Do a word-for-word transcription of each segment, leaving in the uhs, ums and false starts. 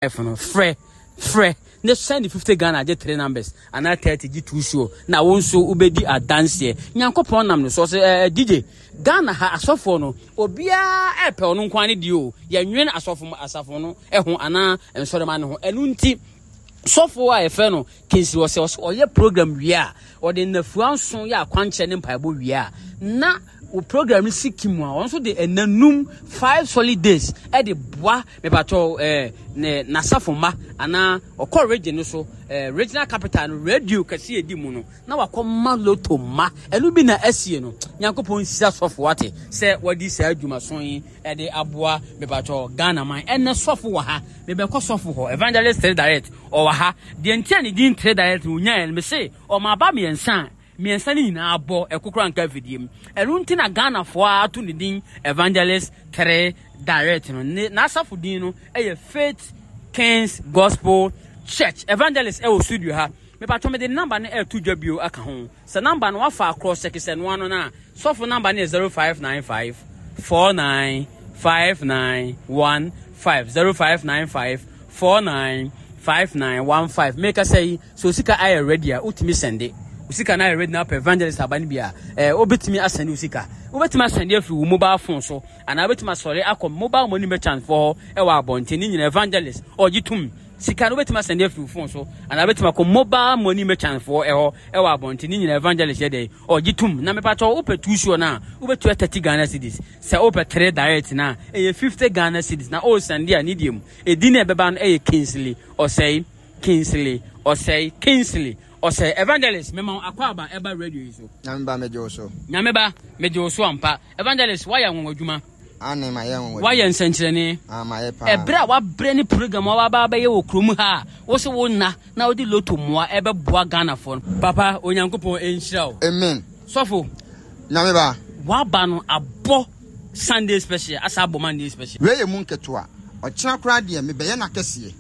No frɛ frɛ ne send fifty Ghana gye three numbers anaa thirty gye two show, na wo nso wobɛdi adanseɛ. Nyankopɔn nam no so ɔsɛ ɛɛ D J Ghana ha asɔfoɔ no, obiara ɛpɛ ɔno nko ne deɛ o. Yɛnwene asɔfo asafo no ɛho anaa nsɔrɔma no ho. Ɛno nti sɔfo a yɛfrɛ no Kingsley ɔsɛ ɔsɛ ɔyɛ program wie a, ɔde nnafua nson yɛ akwankyerɛ ne mpaebɔ wie a, na o program no si kim a, ɔno nso de ɛnanum five solid days ɛde boa mepatɔ ɛɛ ne n'asafo mma anaa ɔkɔ region no so, ɛɛ regional capital no, radio kɛse edi mu no, na wakɔ ma lotto ma. Ɛno bi na asie no. Nyankopɔn nhyira sɔfo, wate, sɛ wɔde saa adwumaso yi ɛde aboa mepatɔ Ghana man. Ɛnɛ sɔfo wɔ ha, mebɛkɔ sɔfo hɔ. Evangelist Three Direct ɔwɔ ha deɛ. Nti a ne din Three Direct no onyaeɛ no, mese ɔma aba mmiɛnsa a mmiɛnsa no nyinaa bɔ ɛkokora nka afidie mu. Ɛno nti na Ghanafoɔ ato ne din Evangelist Three Direct no. Ne n'asafo din no ɛyɛ Faith Kings Gospel Church. Evangelist ɛwɔ studio ha. Mepatɔ mede number no ɛɛto dwa bio aka ho sɛ number no wafa akorɔ sɛkesɛ noa no no a, sɔfo number no yɛ zero five nine five four nine five nine one five, zero five nine five four nine five nine one five. Meka sɛ yi sɛ osika ayɛ ready a, wotumi send osika no ayɛ ready na apɛ evangelist aba no bi a, ɛɛ wobɛtumi asend osika. Wobɛtumi asend afiri wo mobile phone so anaa wobɛtumi asɔre akɔ mobile money merchant foɔ hɔ ɛwɔ abɔnten ne nyina. Evangelist ɔgye tum sika no, wobɛtumi asend afiri wo phone so anaa wobɛtumi akɔ mobile money merchant foɔ ɛhɔ ɛwɔ abɔnten ne nyina. Evangelist yɛ dɛ ɔgye tum. Na mepatɔ wopɛ two sure no a, wobɛtua thirty Ghana cedis. Sɛ wopɛ three direct no a, ɛyɛ fifty Ghana cedis. Na ɔresend a, ne deɛ mu ɛdi no ɛbɛba no ɛyɛ Kingsley Ɔsɛe, Kingsley Ɔsɛe, Kingsley Ɔsɛe. Evangelist, mema wo akɔ aba ɛba radio yi so. Nyame ba, megye wo so. Nyame ba, megye wo so ampa. Evangelist, woayɛ anwanwa adwuma. Ane, ma yɛ anwanwa. Woayɛ nsɛnkyerɛnne. Ah, ma yɛ paa. Ɛberɛ a wabrɛ ne program a waba abɛyɛ wɔ kurom ha a, wo sɛ wo nna na wode lotto mmoa ɛbɛboa Ghanafoɔ no. Papa, Onyankopɔn ɛnhyira wo. Amen. Sɔfo. Nyame ba. Waba no abɔ Sunday special asa abɔ Monday special. Wei yɛ mu nketewa. Ɔkyena koraa deɛ, mebɛyɛ no akɛseɛ.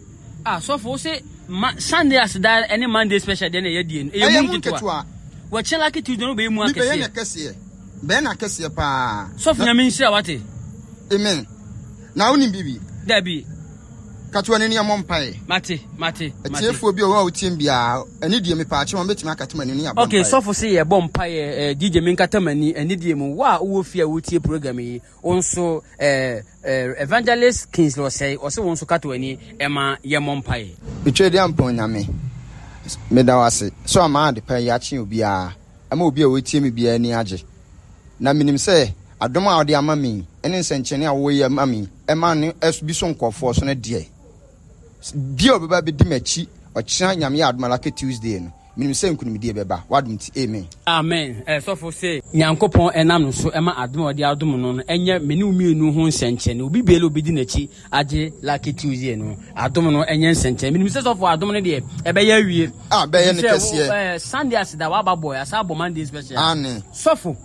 Ah, sɔfo, wo sɛ ma Sunday aseda ɛne Monday special deɛ na ɛyɛ die no ɛyɛ mu mu nketewa. Nketewa. Wɔkyɛ Lucky Tuesday no, wobɛyɛ mu mebɛyɛ no akɛseɛ. Akɛseɛ, bɛyɛ no akɛseɛ paa. Sɔfo, Nyame nhyira, wate. Amen. Na wonim biribi? Dabi. Katoa no ni, ɛmmɔ mpaeɛ. Mate, mate, mate. Atiefoɔ bi a ɔwɔ a wotie m biara ɛne deɛ, mepaakyɛ wɔn bɛtumi akata m'ani ne yɛabɔ Okay. mpaeɛ. Sɔfo sɛ yɛbɔ mpaeɛ. eh, D J, menkata m'ani ɛne deɛ mu. Wo a wowɔ fie a wotie program yi, wo nso eh, eh, Evangelist Kingsley Ɔsɛe ɔsɛ wo nso kata w'ani ɛma yɛmmɔ mpaeɛ. Metwa di ampɔn Nyame, meda wo ase sɛ ɔma ade pa yi akye obiara ama obi a wɔtie me biara ani agye. Na menim sɛ adom a wode ama me yi, ɛne nsɛnkyerɛnne a wɔyɛ ama me yi, ɛma ne ɛs- bi so nkɔɔfoɔ so no deɛ bia a ɔbɛba bɛdi m'akyi ɔkyena, Nyame yɛ adom a, Lucky Tuesday no, menim sɛ nkonimdie bɛba w'adom nti. Amen. Amen. eh, sɔfo sɛ Nyankopɔn ɛnam no so ɛma adom a ɔde adom no no ɛnyɛ me ne wo mmienu ho nsɛnkyerɛnne. Obi biara a obɛdi n'akyi agye Lucky Tuesday no adom no ɛnyɛ nsɛnkyerɛnne. Menim sɛ sɔfo adom no deɛ ɛbɛyɛ awie. Ah, bɛyɛ ne Sɛ wo- kɛseɛ. eh, Sunday aseda waba bɔ asa abɔ Monday special. Ane. Sɔfo,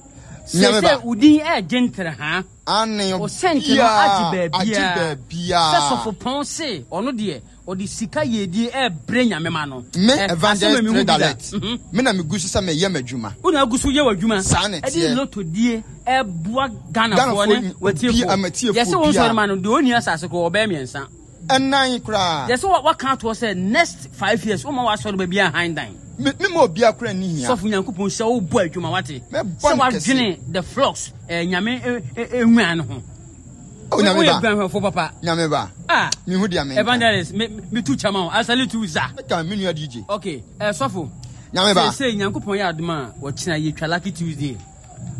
Nyame sɛ ba. sɛ wo din ɛɛgye ntere ha ane o sɛnti no agye agye baabiaa baabiaa sɛ sɔfo pɔn se ɔno deɛ ɔde sika yɛdie ɛɛbrɛ Nyame ma no. Me Eh, Evangelist asɛm a mehu Three bi da. Direct, Mhm. me na megu so sɛ meyɛ m'adwuma. Wona agu so yɛ w'adwuma. Saa na ɛde ɛteɛ. lotto die ɛboa Ghanafoɔ Ghanafoɔ ne ni- watiefoɔ. obi- amatiefoɔ Yɛsɛ wo biara. nsɔre ma no deɛ, ɔnni asase korɔ ɔbɛyɛ mmiɛnsa. Ɛnan koraa. Yɛsɛ wa- waka atoɔ sɛ next five years woma w'asɔre baabi a han dan. Me mema obiara koraa nni hia. Sɔfo, Nyankopɔn hyɛ wo bɔ adwuma, wate. Mɛbɔ sɛ no kɛse. wadwene the flocks, eh, Nyame nwura no ho. Oh, Nyame woyɛ ba. guanhwɛfo papa. Nyame ba. Ah. Mehu deɛ menka. Evangelist, me metu kyama wo. I salute you, sir. Ka me nua D J. Okay, eh, sɔfo. Nyame ba. Sɛ Nyankopɔn yɛ adom a, wɔkyena yɛtwa Lucky Tuesday.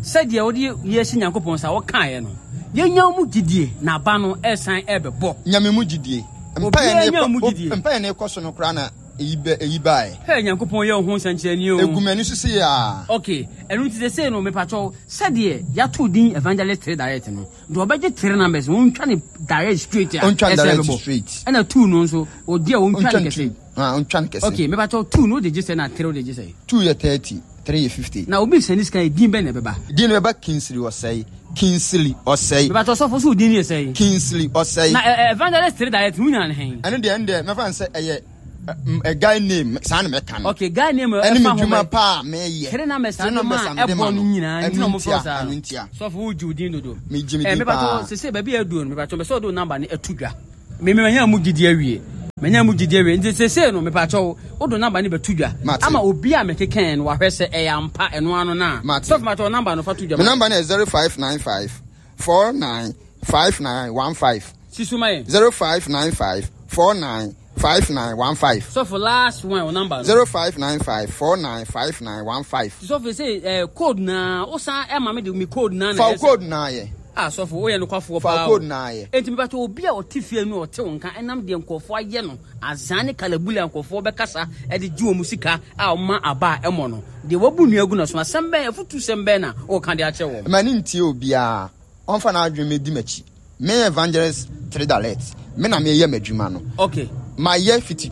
Sɛdeɛ wode yɛhyɛ Nyankopɔn sa wɔkaeɛ no, yɛnya wo mu gyidie na aba no ɛsan ɛbɛbɔ. Nyame mu gyidie. Obiara nya mu gyidie. Mpaeɛ ne ɛkɔ so no koraa na eyi bɛ eyi baeɛ. Hɛ, Nyankopɔn yɛ wo ho nsɛnkyerɛnne o. Egu m'ani so sɛ yaa. Okay, ɛno nti sɛ sei no, mepakyɛw, sɛdeɛ yɛato din Evangelist Three Direct no deɛ, ɔbɛgye three numbers no, ɔntwa ne direct straight a Ɔntwa ne ɛsɛ direct bɛbɔ. Straight. Ɛna two no nso, ɔdi a ɔntwa ɔntwa ne ne kɛse. two. Ah, ɔntwa ne kɛse. Okay, mepakyɛw, two no wode gye sɛ na three wode gye sɛ? Two yɛ thirty, three yɛ fifty. Na obi sɛ ne sika yɛ din bɛn na ɛbɛba? Din no bɛba Kingsley Ɔsɛe, Kingsley Ɔsɛe. Mepakyɛw, sɔfo, so wo din yɛ sɛn? Kingsley Ɔsɛe. Na ɛ- ɛ, Evangelist Three Direct no, wonya ne hɛn? Ɛno deɛ ɛno deɛ mɛfa no sɛ ɛyɛ ɛ, ɛ, guy name saa na mɛka no. Okay, guy name. Ɛne me Ɛfa ho dwuma bɛ paa a meyɛ. Three numbers Three a numbers ma a mede ɛbɔ ma no no. nyinaa nti na Ɛno ɔmo frɛ ntia, saa. Ɛno ntia. Sɔfo, wogye wo din dodo. Megye me Eh, din mepakyɛw, paa. sese baabi a aduro no, mepakyɛw, mɛsɛ ɔde wo number no ɛto dwa. Mememanya mu gyidi awie. Manya mu gyidie wei nti seesei no mepakyɛw wode number no bɛto dwa Mate. Ama obi a mekekae no wahwɛ sɛ ɛyɛ ampa ɛno ano no a. Mate. Sɔfo mepakyɛw number no fa to dwa Me ma. number no yɛ zero five nine five four nine five nine one five. Si so ma yɛn. zero five nine five four nine five nine one five. Sɔfo last one wo number no. zero five nine five four nine five nine one five. Sɔfo sɛ eh, code na wosan ɛma me de me code na na Fa ɛyɛ wo sɛ- code na yɛ. Ah sɔfo woyɛ nokwafoɔ Fa paa wo o. code na yɛ. Enti mepakyɛ obi a ɔte fie no ɔte wo nka ɛnam deɛ nkurɔfoɔ ayɛ no azan ne kalabuli a nkurɔfoɔ bɛkasa ɛde gye wɔn sika a ɔma aba a ɛmɔ no deɛ wabu nnua gu no so asɛm bɛn afutu sɛm bɛn na ɔka de akyerɛ wɔn. Ma ne ntie obiara ɔmfa n'adwene mɛdi m'akyi. Me evangelist three direct me na meyɛ m'adwuma no. Okay. Mayɛ fiti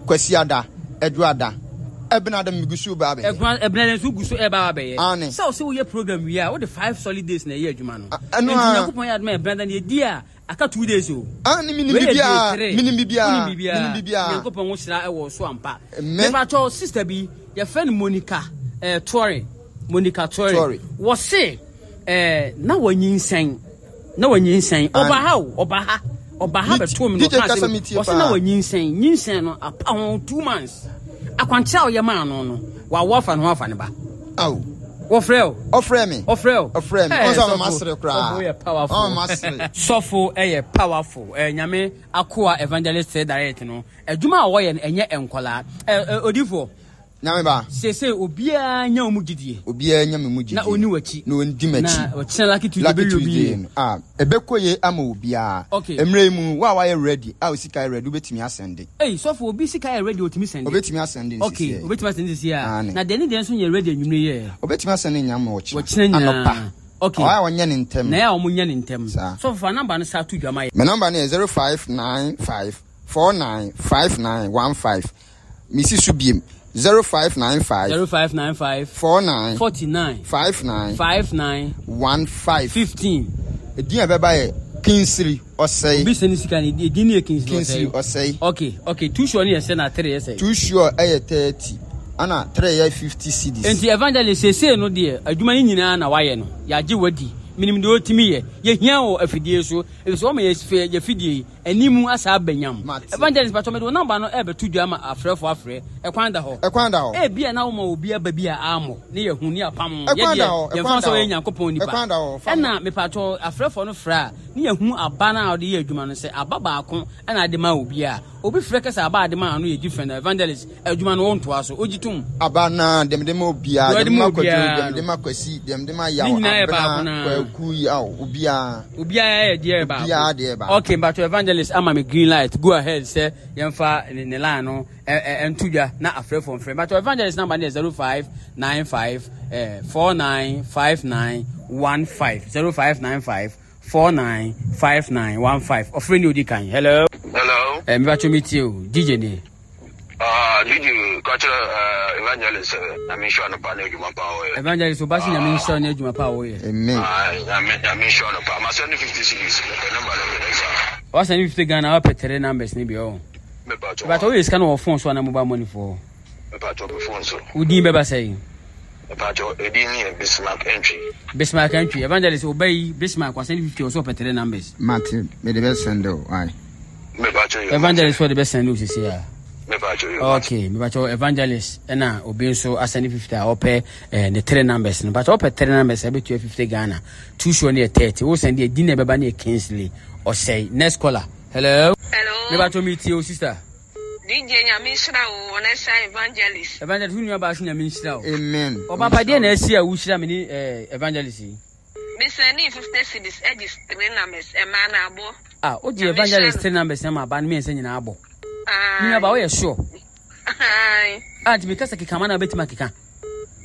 Kwasiada, Adwoada, Ɛbenada megu so ba abɛyɛ. Ɛkwan ɛbenada nso gu so ɛba abɛyɛ. Aane. Sɛ ɔsɛ woyɛ program wie a wode five solid days na ɛyɛ adwuma no. A- ɛno Enti a- Nyankopɔn yɛ adom a ɛbenada no yɛdi a aka two days o. Aane menim Wei yɛ day biribiara. three. Menim biribiara. Wonim biribiara. Menim biribiara. Nyankopɔn wo hyira ɛwɔ so ampa. Amen. Mepakyɛw sister bi yɛfrɛ no Monica eh, Torre. Monica Torre. Torre. Wɔse eh, na wanyinsɛn. Na wanyinsɛn. Aane. Ɔba ha o, ɔba ha. Ɔba ha Me- bɛtoo me na D J ɔkaa kasa sɛ me tie wɔse na paa. wanyinsɛn. Nyinsɛn no apa ho two months. Akwankyerɛ a ɔyɛ maa no no, wawo afa ne ho afa ne ba. Aw. Wɔfrɛ o. Ɔfrɛ me. Ɔfrɛ o. Ɔfrɛ me. Eh, Ɔnsa sɔfo. ɔma sere koraa. Sɔfo yɛ powerful. Ɔma sere. Sɔfo ɛyɛ powerful. Eh, Nyame akoa evangelist direct no. Adwuma a wɔyɛ no ɛnyɛ nkɔlaa. Eh, eh, odifoɔ. Nyame ba. Sese obiara nya wo mu gyidie. Obiara nya me mu gyidie. Na onni w'akyi. Na ondi m'akyi. Na ɔkyena Lucky Tuesday Lucky bɛyɛ obi Tuesday yie. no. Ah, ɛbɛkɔ yie ama obiara. Okay. Mmerɛ yi mu, wo a wayɛ ready, a wo sika yɛ ready, wobɛtumi asɛnde. Ei, sɔfo, obi sika yɛ ready, otumi sɛnde. Obɛtumi asɛnde ne Okay, sisi yɛ. obɛtumi asɛnde sisi a. Aane. Na deɛ ne deɛ nso nyɛ ready anwummerɛ yɛ. Obɛtumi asɛnde nyame ɔkyena. Ɔkyena nyinaa. Anɔpa. Okay. Ɔyɛ a ɔnyɛ ne ntɛm. Na yɛ a ɔmo nyɛ ne ntɛm. Saa. Sɔfo, fa number no saa to dwama yɛ. Me number no yɛ zero five nine five four nine five nine one five. Misi so biem. zero five nine five zero five nine five four nine forty-nine five nine five nine one five fifteen. Edin a bɛba yɛ Kinsiri Ɔsɛe. Obi sɛ ne sika ne edin ne yɛ Kinsiri Kinsiri Ɔsɛe. Ɔsɛe. Okay, okay. Two sure ne yɛ sɛ na three yɛ sɛ. Two sure ɛyɛ thirty. Ana three yɛ fifty cedis. Enti evangelist sese no deɛ adwuma ne nyinaa na wayɛ no. Yɛagye wadi. Minim deɛ otimi yɛ. Yɛhia wɔ afidie so. Efisɛ wɔn yɛ fɛ yɛ fidie animu asa abɛnyam. Mate. Evangelist patɔ mɛde wɔn namba no ɛbɛto dwa ama afrɛfo afrɛ. Ɛkwan da hɔ. Ɛkwan da hɔ. Ebi a na wɔn obi aba bi a amɔ ne yɛ hu ne apam. Ɛkwan Yɛ da deɛ hɔ, yɛn ɛkwan fa da sɛ ɔyɛ hɔ. Nyankopɔn nipa. Ɛkwan da hɔ, fa Ɛna mepatɔ afrɛfo no frɛ a ne yɛ hu aba na ɔde yɛ adwuma no sɛ aba baako ɛna ade ma obi a obi frɛ kɛsɛ aba ade ma ano yɛ different. Evangelist adwuma no wɔntoa so ogye tom. Aba na dem de ma obiara, Deɛ dem ma ɔde ma Kwadwo, obiara dem de ma Kwasi, dem de ma Yaw, Ne nyinaa yɛ baako Abena, naa. Kwaku, Yaw, obiara. Obiara yɛ deɛ baako. Obiara deɛ baako. Okay, but evangelist ama me green light. Go ahead sɛ yɛmfa ne ne line no ɛ ɛ nto dwa na afrɛfo mfrɛ. But evangelist number ne yɛ zero five nine five eh, four nine five nine one five zero five nine five four nine five nine one five. Ɔfrɛ ni odi kan. Hello. Hello. Eh, mebatwo mi tie o. D J ni. Ah, D J, kakyɛ, eh, evangelist, eh, na mi nhyira no pa na adwuma pa ɔyɛ. Evangelist, obasi na mi nhyira no adwuma pa ɔyɛ. Amen. Ah, na mi, na mi nhyira no pa. Ma send fifty cedis. Mepɛ number no mi nsa. Wa send fifty Ghana, wa pɛ three numbers ni bi o. Mepɛ atɔ. But o yɛ sika no wɔ phone so ana mobile money for. Mepɛ atɔ me phone so. Wo din bɛba sɛn? Mepɛ atɔ, edin ni yɛ Bismarck Entry. Bismarck Entry. Evangelist, obey Bismarck wa send fifty o so pɛ three numbers. Mate, me de bɛ send o. Ai. Mepɛ atɔ yɛ. Evangelist for the best send o sisi a. Okay. Okay, but evangelist na obi nso asend fifty a ope eh the three numbers no. But ope three numbers e be two fifty Ghana. Two sure near thirty. Wo send the din e beba near Kingsley or say next caller. Hello. Hello. Me ba to meet you sister. D J Nyame nhyira wo na sa evangelist. Evangelist who ba Nyame nhyira wo. Amen. O papa de na asi a wo hyira me ni eh evangelist. Me send fifty cedis e di three numbers e ma na abo. Ah, o di evangelist three numbers na ma ba me nse nyina abo. Ah. Ni ba wo ye sure. Ai. Ah, ti because keka ma na betima keka.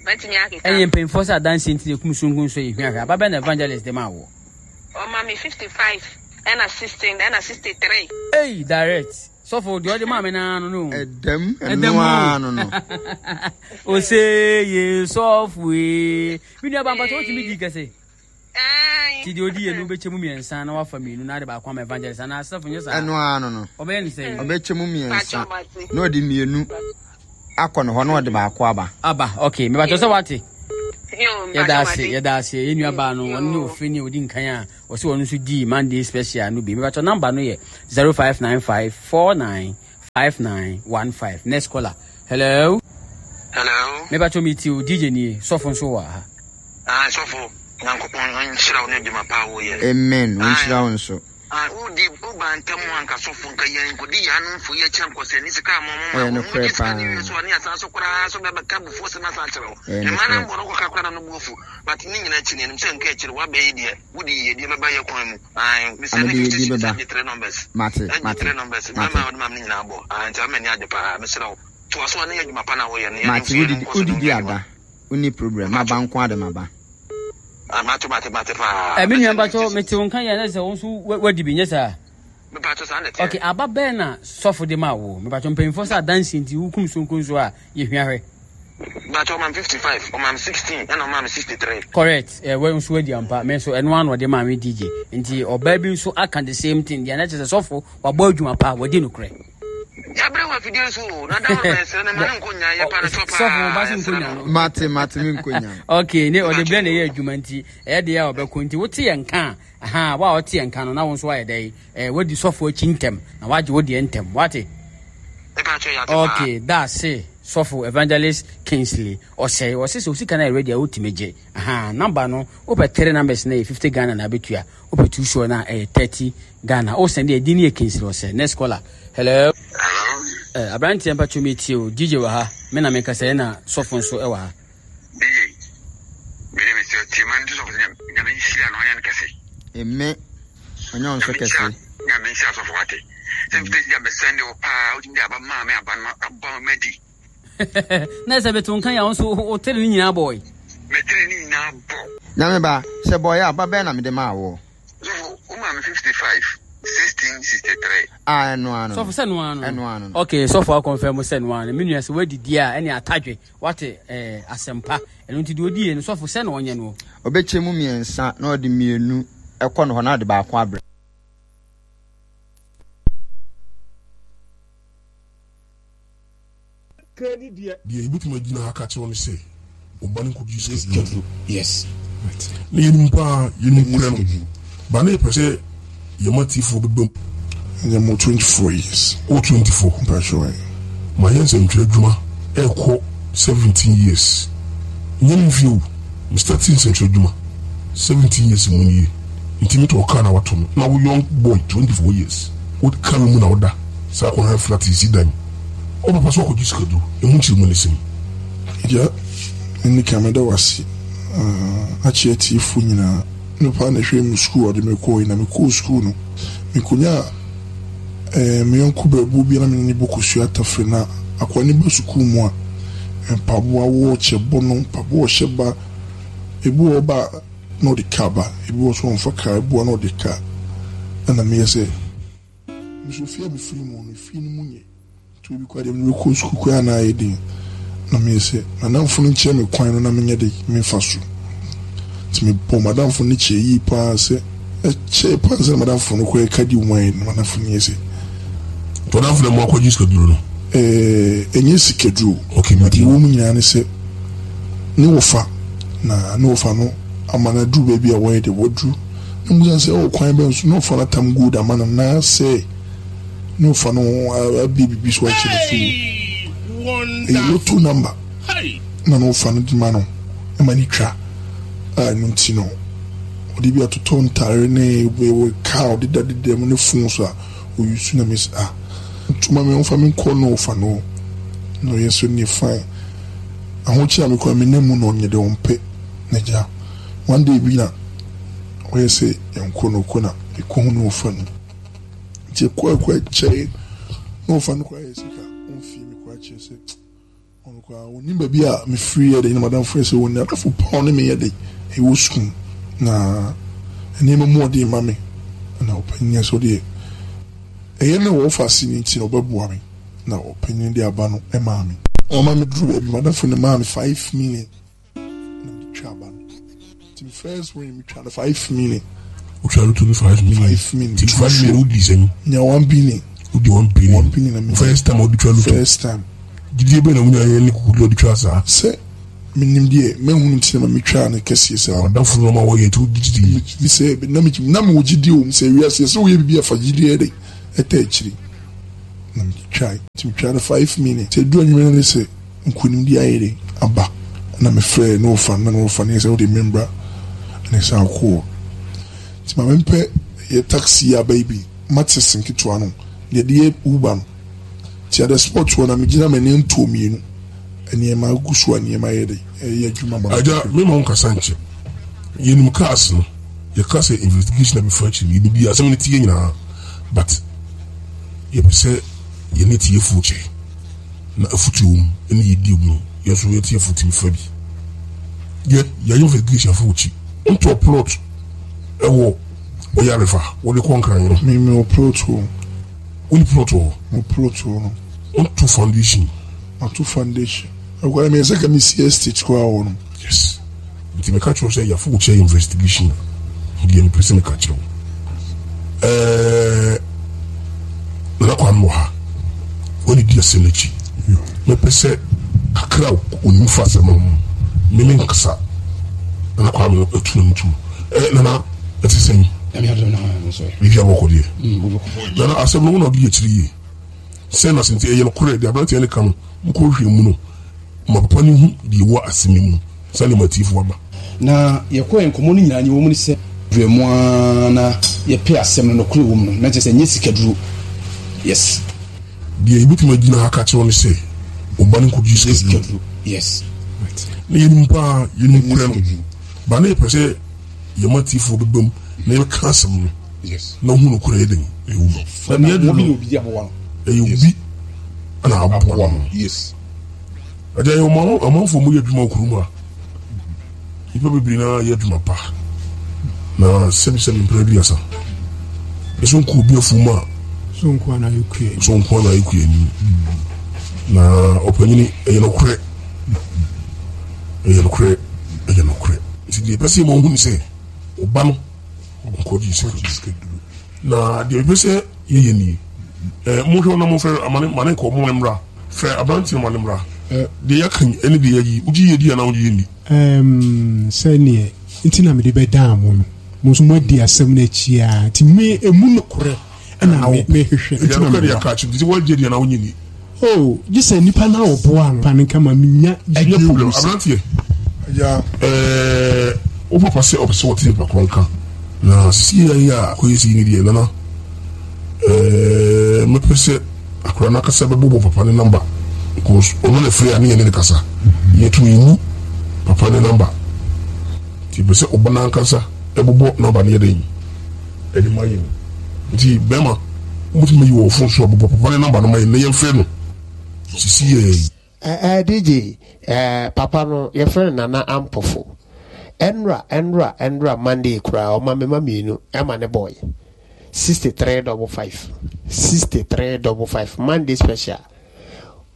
Betimi akeka. Enye mpemfo sa dance nti ekum sungun so ehua hwa. Ba be na evangelist de ma wo. O ma me fifty-five and a sixteen and a sixty-three. Hey, direct. So for the other ma me na no no. Edem eno ano no. O say ye so we. Mi nua ba mpa to ti mi di kese. Ai. Ti di odi ye no be chemu miensa na wa family no na de ba kwa ma evangelist na asafo nyesa. Eno ano no. Obe ni say. Obe chemu miensa. Na odi mienu akọ no ho na odi ba akọ aba. Aba, okay. Me ba to say what? Yo, Yeda ase, yeda ase. Ye nua ba no, one no ofre ni odi nkan a, o se wonu so di Monday special no bi. Me ba to number no ye zero five nine five four nine five nine one five. Next caller. Hello. Hello. Mebatɔ mi ti o D J nie, sɔfo nso wɔ ha. Ah, sɔfo, Nyankopɔn nhyira wo ne adwuma pa a woyɛ. Amen, wonhyira wo nso. Ah, wodi woba ntam anka sɔfo nka yɛn nkɔdi yɛn ano mfo yɛ kyɛ nkɔsɛ ne sika ama ɔmo. Ɛyɛ ma nokorɛ ɔmo gye sika ne paa. wie so a ne asan so koraa so bɛbɛka bufuo sɛm asan akyerɛ wo. Ɛyɛ Mma no nokorɛ. mbɔ no kɔka koraa na no bu afu, but ne nyinaa akyi no yɛnim sɛ nka akyiri woabɛyi deɛ wode yiyedie bɛba yɛ kwan mu. Ae, mesɛ ne Amede fifty yɛdi cedis bɛba. agye three numbers. Mate. Agye Mate. three numbers. Mate. Mɛma wode ma me ne nyinaa bɔ. Ae, nti ama ani agye paa. Mesrɛ wo, toa so a ne yɛ adwuma pa no a woyɛ no, yɛne Mate. nso yɛne Wodidi nkɔ so ne wodidi wo adwuma. ada wonni problem, maba nko ade maba. Ah, mate, mate, mate paa. Ɛ, me nua Mesɛ ne mpatɔ fifty mete wo nka yɛ ne sɛ wo nso wa- wadi bi nyɛ saa? Mepatɔ, saa na ɛteɛ. Okay, aba bɛɛ na sɔfo de ma wo? Mepatɔ, mpanyinfoɔ sɛ adansi nti wokum sonko nso a yɛhwia hwɛ. But ɔmam fifty-five, ɔmam sixteen, ɛna ɔmam sixty-three. Correct. Ɛ, wɔ nso wadi ampa. Me nso ɛno ano ɔde maa me D J, nti ɔbaa bi nso aka the same thing deɛ, na kyerɛ sɛ sɔfo wabɔ adwuma pa, wadi nokorɛ. Yɛabrɛ wɔ afidie so o, na da hɔ bɛsrɛ no ma ne nkɔ nya yɛ pa no kyɛ paa. Sɔfo ba so yɛsrɛ nkonya no. no. Mate, mate, me nkonya. Okay, ne ɔde brɛ na ɛyɛ adwuma nti ɛyɛ deɛ a ɔbɛkɔ nti wote yɛn nka a, aha wa a ɔte yɛn nka no na wo nso ayɛ dɛ ɛɛ wadi sɔfo akyi ntɛm na wagye wo deɛ ntɛm, wate? Mepatɔ, yɛate paa. Okay, that's sɔfo Evangelist Kingsley ɔsɛe ɔsɛ sɛ osika no ayɛ ready a wotumi gye. Aha number no, wopɛ three numbers na yɛ fifty Ghana na abɛtua, wopɛ two sure na ɛyɛ thirty Ghana. Wosɛn deɛ ɛdi ne yɛ Kingsley ɔsɛ. Next caller. Hello. Hello. Eh, aberanteɛ, mpatwo mi tie o. D J wɔ ha, me na mekasa yɛ na sɔfo nso ɛwɔ ha. D J, mede mesɛ tie ma nto sɔfo sɛ Nyame nhyira no, ɔnyɛ no kɛse. Eme ɔnyɛ wo nso Nyame kɛse. nhyira, Nyame nhyira sɔfo, wate? Sɛ fifty cedis abɛsɛn de wo paa, wotumi de aba maa me, aba no aba ma di. Na sɛ bɛto nka yɛ a, wo nso wotere ne nyinaa bɔɔe. Mɛtiri ne nyinaa bɔ. Nyame ba sɛ bɔyɛ aba bɛɛ na mede maa woɔ? Sɔfo, womaa me fifty-five, sixteen, sixty-three. A, ɛno ano Sɔfo sɛ noa no. Ɛno ano no. Okay, sɔfo akɔnfɛn mu sɛ noa no. Me nua, sɛ woadidi a ɛne atadwe wate ɛɛ asɛmpa ɛno nti deɛ odie no, sɔfo sɛ na ɔnyɛ no. Ɔbɛkyɛ mu mmiɛnsa na ɔde mmienu ɛkɔ no hɔ na ɔde baako abrɛ. Deɛ yɛbɛtumi agyina ha ka kyerɛ wo ne sɛ ɔba no nkɔgye sikaduro. Yes. Na yɛnim paa, yɛnim korɛ no ba na yɛpɛ sɛ yɛma tiefoɔ bɛba mu. Ɛnyɛ mo twenty-four years. Wɔ twenty-four? Mpatwɛ. Ma yɛ nsɛmtwerɛ adwuma ɛrekɔ seventeen years, nyɛ me mfie o. Me start nsɛmtwerɛ adwuma seventeen years mu nie, nti metɔ kaa na wato no na wo young boy twenty-four years wo kaa mu na woda saa kɔhɛ flat si dan wo papa so akɔgye sikaduro, ɛmu nkyerɛ mu ne sɛm. Gya, ne ka mɛda wase akyerɛ tiefoɔ nyinaa. Ne papa na ɛhwɛ mu sukuu a ɔde me kɔɔ yi, na mekɔɔ sukuu no mekonya eh, me yɔnko brɛboɔ bi a na mene ne bɔ kosua atafere, na akoa ne ba sukuu mu a mpaboa wɔ kyɛ bɔ no, mpaboa ɔhyɛ ba, ebi wɔ ba na ɔde kaa ba, ebi wɔ so ɔmfa kaa, ebi wɔ na ɔde kaa. Ɛna meyɛ sɛ nso fie a mefiri mu no, fie no mu nyɛ nti obi kɔ adeɛ mene kɔ sukuu kwan a na ayɛ den, na meyɛ sɛ madamfo no nkyerɛ me kwan no na menyɛ de memfa so, nti mebɔ madamfo no kyerɛ yie paa sɛ ɛkyɛɛ paa sɛ madamfo no koraa ɛka di mu ayɛ no, madamfo no yɛ sɛ Tɔdamfo na mu akɔgye sikaduro no? ɛɛ ɛnyɛ sikaduro. Okay, but meti. Ɛwɔ mu nyinaa ne sɛ ne wɔfa na ne wɔfa no ama no aduru baabi a wɔyɛ de wɔduru na mu sɛ ɛwɔ kwan bɛn so ne wɔfa no atam gold ama no na sɛ ne wɔfa no abie biribi so akyɛ no so ɛyɛ lotto number na ne wɔfa no de ma no ɛma ne twa a, ɛno nti no ɔde bi atotɔ ntaare ne ɛwɔ kaa ɔde da deda mu ne phone so a oyi so, na mi sɛ, ah, ntoma mi ɔmfa mi nkɔ na ɔfa no na ɔyɛ so ne fine ahokyere a mekɔ a menam mu na ɔnyɛ deɛ ɔmpɛ. Na gya one day bi na ɔyɛ sɛ yɛnkɔ no kɔ na ɛkɔ no ɔfa no, nti ɛkɔ ɛkɔ ɛkyɛe na ɔfa no kɔ ayɛ sika ɔmfie me kɔ akyerɛ sɛ ɔno koraa ɔnim baabi a mefiri yɛ de na madamfo yɛ sɛ ɔni adafo pa ɔne me yɛ de ɛwɔ sukuu na nneɛma mu ɔde ma me na ɔpanyin sɛ ɔdeɛ ɛyɛ ne wɔfa ase ne nti na ɔbɛboa me, na ɔpanyin de aba no ɛmaa me, ɔma me duru baabi madamfo no maa me five million na mede twa aba no, nti me first win me twa no five million. Wotwa lotto no five million? Five million. Nti five million wodi sɛn? Nya one billion. Wodi one billion? One billion na me First time a wode twa lotto? First time. Gyidie bɛn na wonya yɛ ne kokoduro wode twa saa? Sɛ menim deɛ mahunu nti na ma metwaa no kɛseɛ saa. Wadamfo no ma wɔyɛ nti wogye gyidie? Me sɛ na me na mewɔ gyidie wɔ mu sɛ wiase sɛ woyɛ biribi afa gyidie yɛ de ɛtɛ akyiri na metwae. Nti metwaa no five minutes. Nti ɛduru anwummerɛ no ne sɛ nkunimdie ayɛ dɛn aba. Ɛna mefrɛɛ ne wɔfa no na ne wɔfa no yɛ sɛ wode me mbra na ɛsan kɔɔ. Nti ma mempɛ yɛ taxi yi aba yi bi, Maxis nketewa no, deɛ yɛde yɛ Uber no. Nti at the spot hɔ na megyina m'ani ntoɔ mmienu. Nneɛma gu so a nneɛma yɛ dɛn ɛyɛ adwuma ma me. Agya, mema wo nkasa nkyɛ. Yɛnim cars no, yɛka sɛ investigation a bɛfa akyiri no, yɛnim deɛ asɛm no teɛ nyinaa but yɛpɛ sɛ yɛne atiefoɔ kyɛ na afotuo wɔ mu ne yɛdi mu no, yɛn nso yɛn atiefoɔ tumi fa bi. Yɛ yɛayɛ investigation afa w'akyi. Wontɔɔ plot ɛwɔ Ɔyarefa wode kɔ Nkran no? Me mewɔ plot wɔ. Wonni plot wɔ hɔ? Mewɔ plot wɔ no. Wonto foundation? Mato foundation. Ɛkwan mi ɛsɛ ka mi si estate koraa wɔ no. Yes. Nti meka kyerɛ wo sɛ yɛafo wo kyɛ investigation a, deɛ mepɛ sɛ meka kyerɛ wo. Ɛɛ Nana Kwame wɔ ha. Wɔne di asɛm n'akyi. Mepɛ sɛ kakra a onim fa asɛm no ho. Me me nkasa. Nana Kwame no atu n'ani tu. Ɛɛ Nana ɛte sɛn? Biribi abɔkɔ deɛ. Nana asɛm no wo na ɔde akyiri yie. Sɛn na sɛ nti ɛyɛ nokorɛ deɛ aberanteɛ no ka no mokɔhwehwɛ mu no ma papa no hu deɛ ɛwɔ asɛm yi mu sɛdeɛ ma atiefoɔ aba. Na yɛkɔɛ nkɔmmɔ no nyinaa nea ɛwɔ mu ne sɛ. Berɛ mu ara na yɛpɛ asɛm no nokorɛ wɔ mu no na kyerɛ sɛ ɛnyɛ sikaduro yes. Deɛ yɛbɛtumi agyina ha aka akyerɛ wo ne sɛ wo ba no nkɔgye sikaduro yes. Na yɛnim paa yɛnim korɛ no ba na yɛpɛ sɛ yɛma atiefoɔ bɛba mu na yɛbɛka asɛm no yes. Na wohu nokorɛ yɛ dɛn ɛwɔ mu. Na nea aduru no ɛyɛ obi na aboa no. Yes. Agya yɛ ɔman ɔmanfoɔ mu yɛ adwuma wɔ kurom a nnipa bebree na yɛ adwuma pa na sɛbisɛbi mpere aduasa ɛso nko obi afuom a so nko ana yɛ kua so nko ana yɛ kua ni na ɔpanyini ɛyɛ nokorɛ ɛyɛ nokorɛ ɛyɛ nokorɛ nti deɛ ɛpɛ sɛ yɛma wohu ne sɛ ɔba no nkɔgye sikaduro na deɛ ɛpɛ sɛ yɛyɛ nie ɛɛ mohwɛ na mofrɛ amane mane nkɔ mo mmra frɛ aberanteɛ ma ne mmra deɛ yɛaka yi ɛne deɛ yɛayi wogye yɛ di anaa wogye yɛ nni. Ɛɛm, sɛdeɛ nti na mede bɛdaa mo no, mo nso moadi asɛm no akyi ara, nti me, emu nokorɛ na me, mehwehwɛ, nti na meboa. Ɛyɛ nokorɛ nti woagye di anaa wonnye nni? Oh, gye sɛ nipa no a ɔboaa no no nka ma menya gyidie Ɛnyɛ wɔ problem, mu sɛ. Aberanteɛ, Agya. Ɛɛ, wo papa sɛ ɔpɛ sɛ ɔte nipa korɔ nka, na sisi yɛ a akɔyɛ sei ne deɛ, Nana, ɛɛ, mɛpɛ sɛ. Akwadaa no ankasa bɛbobɔ papa ne number because ɔno na ɛfrɛ a ne yɛne no kasa. Yɛto yɛnni papa ne number. Nti yɛpɛ sɛ ɔba no ankasa ɛbobɔ number no yɛ dɛn ɛde ma yɛn. Nti bɛrima wobɛtumi ayi wɔ wo phone so a bobɔ papa ne number no ma yɛn na yɛmfrɛ no sisi yɛ yi. Eh eh D J eh papa no yɛfrɛ no Nana Ampofo. Ɛnra ɛnra ɛnra Monday koraa ɔma me ma mmienu ɛma ne boy. Sixty three double five sixty three double five Monday special.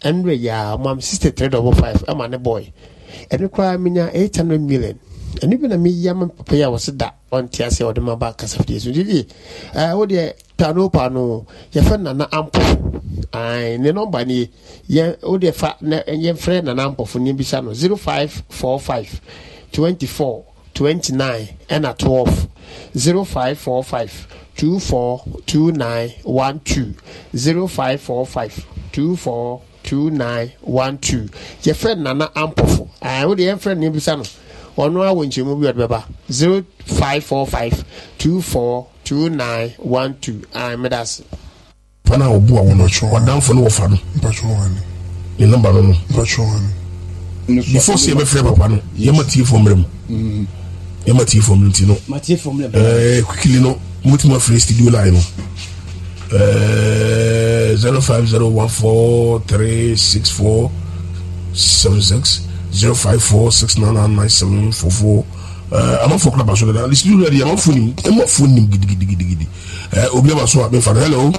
Ɛnra yi a ɔma me sixty three double five ɛma ne boy. Ɛno koraa menya eight hundred million. Ɛno bi na meyi ama papa yi a wɔse da ɔnte aseɛ ɔde ma ba kasafidie so. D J eh wo deɛ paano paano yɛfrɛ Nana Ampofo. Ae ne nɔmba nie. Yɛn wo deɛ fa na yɛmfrɛ Nana Ampofo ne bisa no zero five four five twenty four twenty nine ɛna twelve zero five four five two four two nine one two zero five four five two four two nine one two. Yɛfrɛ Nana Ampofo. Ae wo deɛ yɛmfrɛ no ne bisa no. Ɔno ara wɔ nkyɛmu bi ɔde bɛba zero five four five two four two nine one two. Ae meda ase. Papa no a ɔboa wo no, w'adamfo no wɔfa no, ne number no no. Before sɛ yɛbɛfrɛ papa no, yɛma tiefoɔ mmerɛ mu. Yɛma tiefoɔ mmerɛ nti no, eh, quickly no, mobɛtumi afrɛ studio line no. Eh, zero five zero one four three six four seven six zero five four six nine nine nine seven four four. Eh, amanfoɔ kora ba so dada. The studio line deɛ amanfoɔ nim, amanfoɔ nim gidigidigidi. Eh, obi aba so a mefa no. Hello.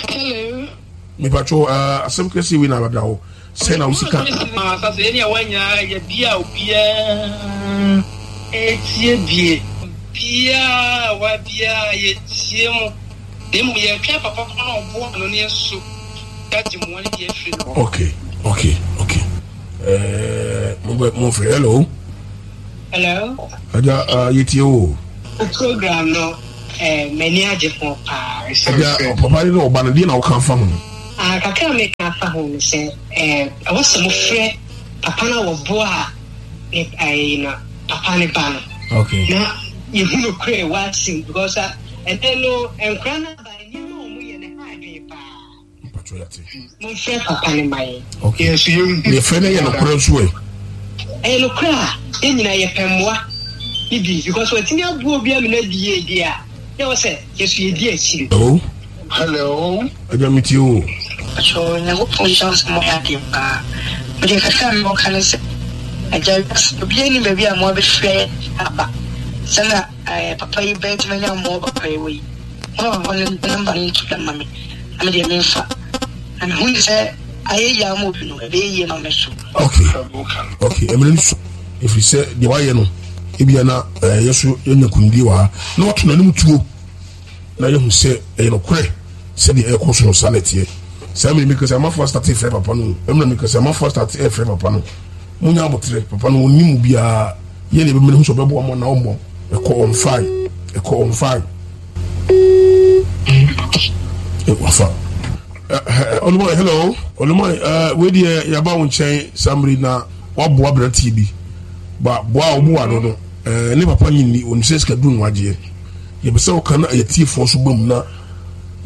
Hello. Mepatwo uh, asɛm kɛseɛ wei na abada hɔ sɛ na wo sika. Asase yɛne a wanya yɛ bia obiara ɛtie bie biara wa biara yɛtie mu na mmom yɛtwɛn papa ko na ɔboa no ne yɛso yɛagye mmoa no bi afiri no hɔ. Okay, okay, okay. Eh, mo mo frɛ hello. Hello. Agya, uh, yɛtie o. Program no, eh, m'ani agye ho paa. Agya, papa ne ɔba no, deɛ na woka fa ho? Ah, Ah, kakra a meka afa ho ne sɛ eh, ɛwɔ sɛ mofrɛ papa no a wɔboa a ne ɛyi no papa ne ba no. Okay. Na yɛhu no korɛ wɔ asɛm because ah, ɛnɛ no nkora no aba nneɛma a wɔyɛ no ha adwene paa. Mpatwɔ yɛate. Momfrɛ papa no ma yɛn. Okay. Yɛn nso yɛnhu. Deɛ frɛ no yɛ nokorɛ nso ɛ. Ɛyɛ nokorɛ a yɛn nyinaa yɛpɛ mmoa ne bi because watumi aboa obi ama no adi yie deɛ a na ɛwɔ sɛ yɛn nso yɛdi akyire. Hello. Hello. Agya me tie o. Pakyɛw Nyankopɔn nhyira wo sɛ moayɛ adeɛ paa. Medeɛ kakra a mewɔ ka ne sɛ, Agya wiase obiara nnim baabi a mmoa bɛfiri ayɛ aba. Sɛ na eh, papa yi bɛtumi anya mmoa papa yi wɔ yi. Moma papa no namba no nto dwa mma me na medeɛ memfa. Na mehu ne sɛ ayɛ yie ama obi no, ɛbɛyɛ yie ma me so. Okay, okay, ɛmene no so ɛfiri sɛ deɛ wayɛ no ebia na ɛyɛ so yɛnya kunimdie wɔ ha na wato n'anim tuo na yɛhu sɛ ɛyɛ nokorɛ sɛdeɛ ɛrekɔ so no saa na ɛteɛ. Saa mmerɛ meka sɛ amafoɔ astate frɛ papa no mmerɛ meka sɛ amafoɔ astate ɛfrɛ papa no munya aboterɛ papa no ɔnni mu biara yɛ ne ɛbɛmene hu sɛ ɔbɛboa mo anaa ɔmmɔ ɛkɔ ɔmfae ɛkɔ ɔmfae wafa Olumai hello Olumai wei deɛ yɛaba wo nkyɛn saa mmerɛ na waboa aberanteɛ bi ba boa a ɔboa no no ne papa nyinni ɔnim sɛ sika duru no agyeɛ yɛpɛ sɛ woka na yɛtiefoɔ so bam na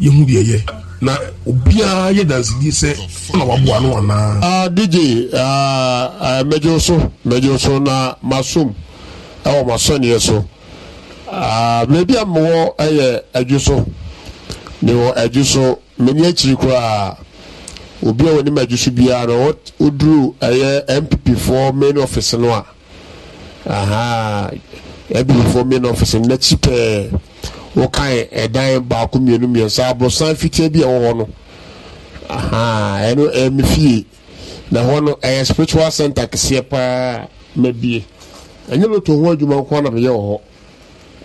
yɛhu deɛ ɛyɛ na obiara yɛ dansedie sɛ na waboa no anaa. Ah, D J, ah, ah, mɛgye wo so, mɛgye wo so na masom ɛwɔ m'asɔneɛ so. Ah, baabi a mewɔ ɛyɛ Adwo so. Mewɔ Adwo so, m'ani akyiri koraa. Obi a wɔnim Adwo so biara no, woduru ɛyɛ N P P foɔ main office no a, aha, N P P foɔ main office no n'akyi pɛɛ, wokan ɛdan baako mmienu mmiɛnsa, aborosan fitaa bi a ɛwɔ hɔ no, aha, ɛno ɛyɛ me fie. Na hɔ no ɛyɛ spiritual center kɛseɛ paa mabie. Ɛnyɛ loto ho adwuma nko na meyɛ wɔ hɔ.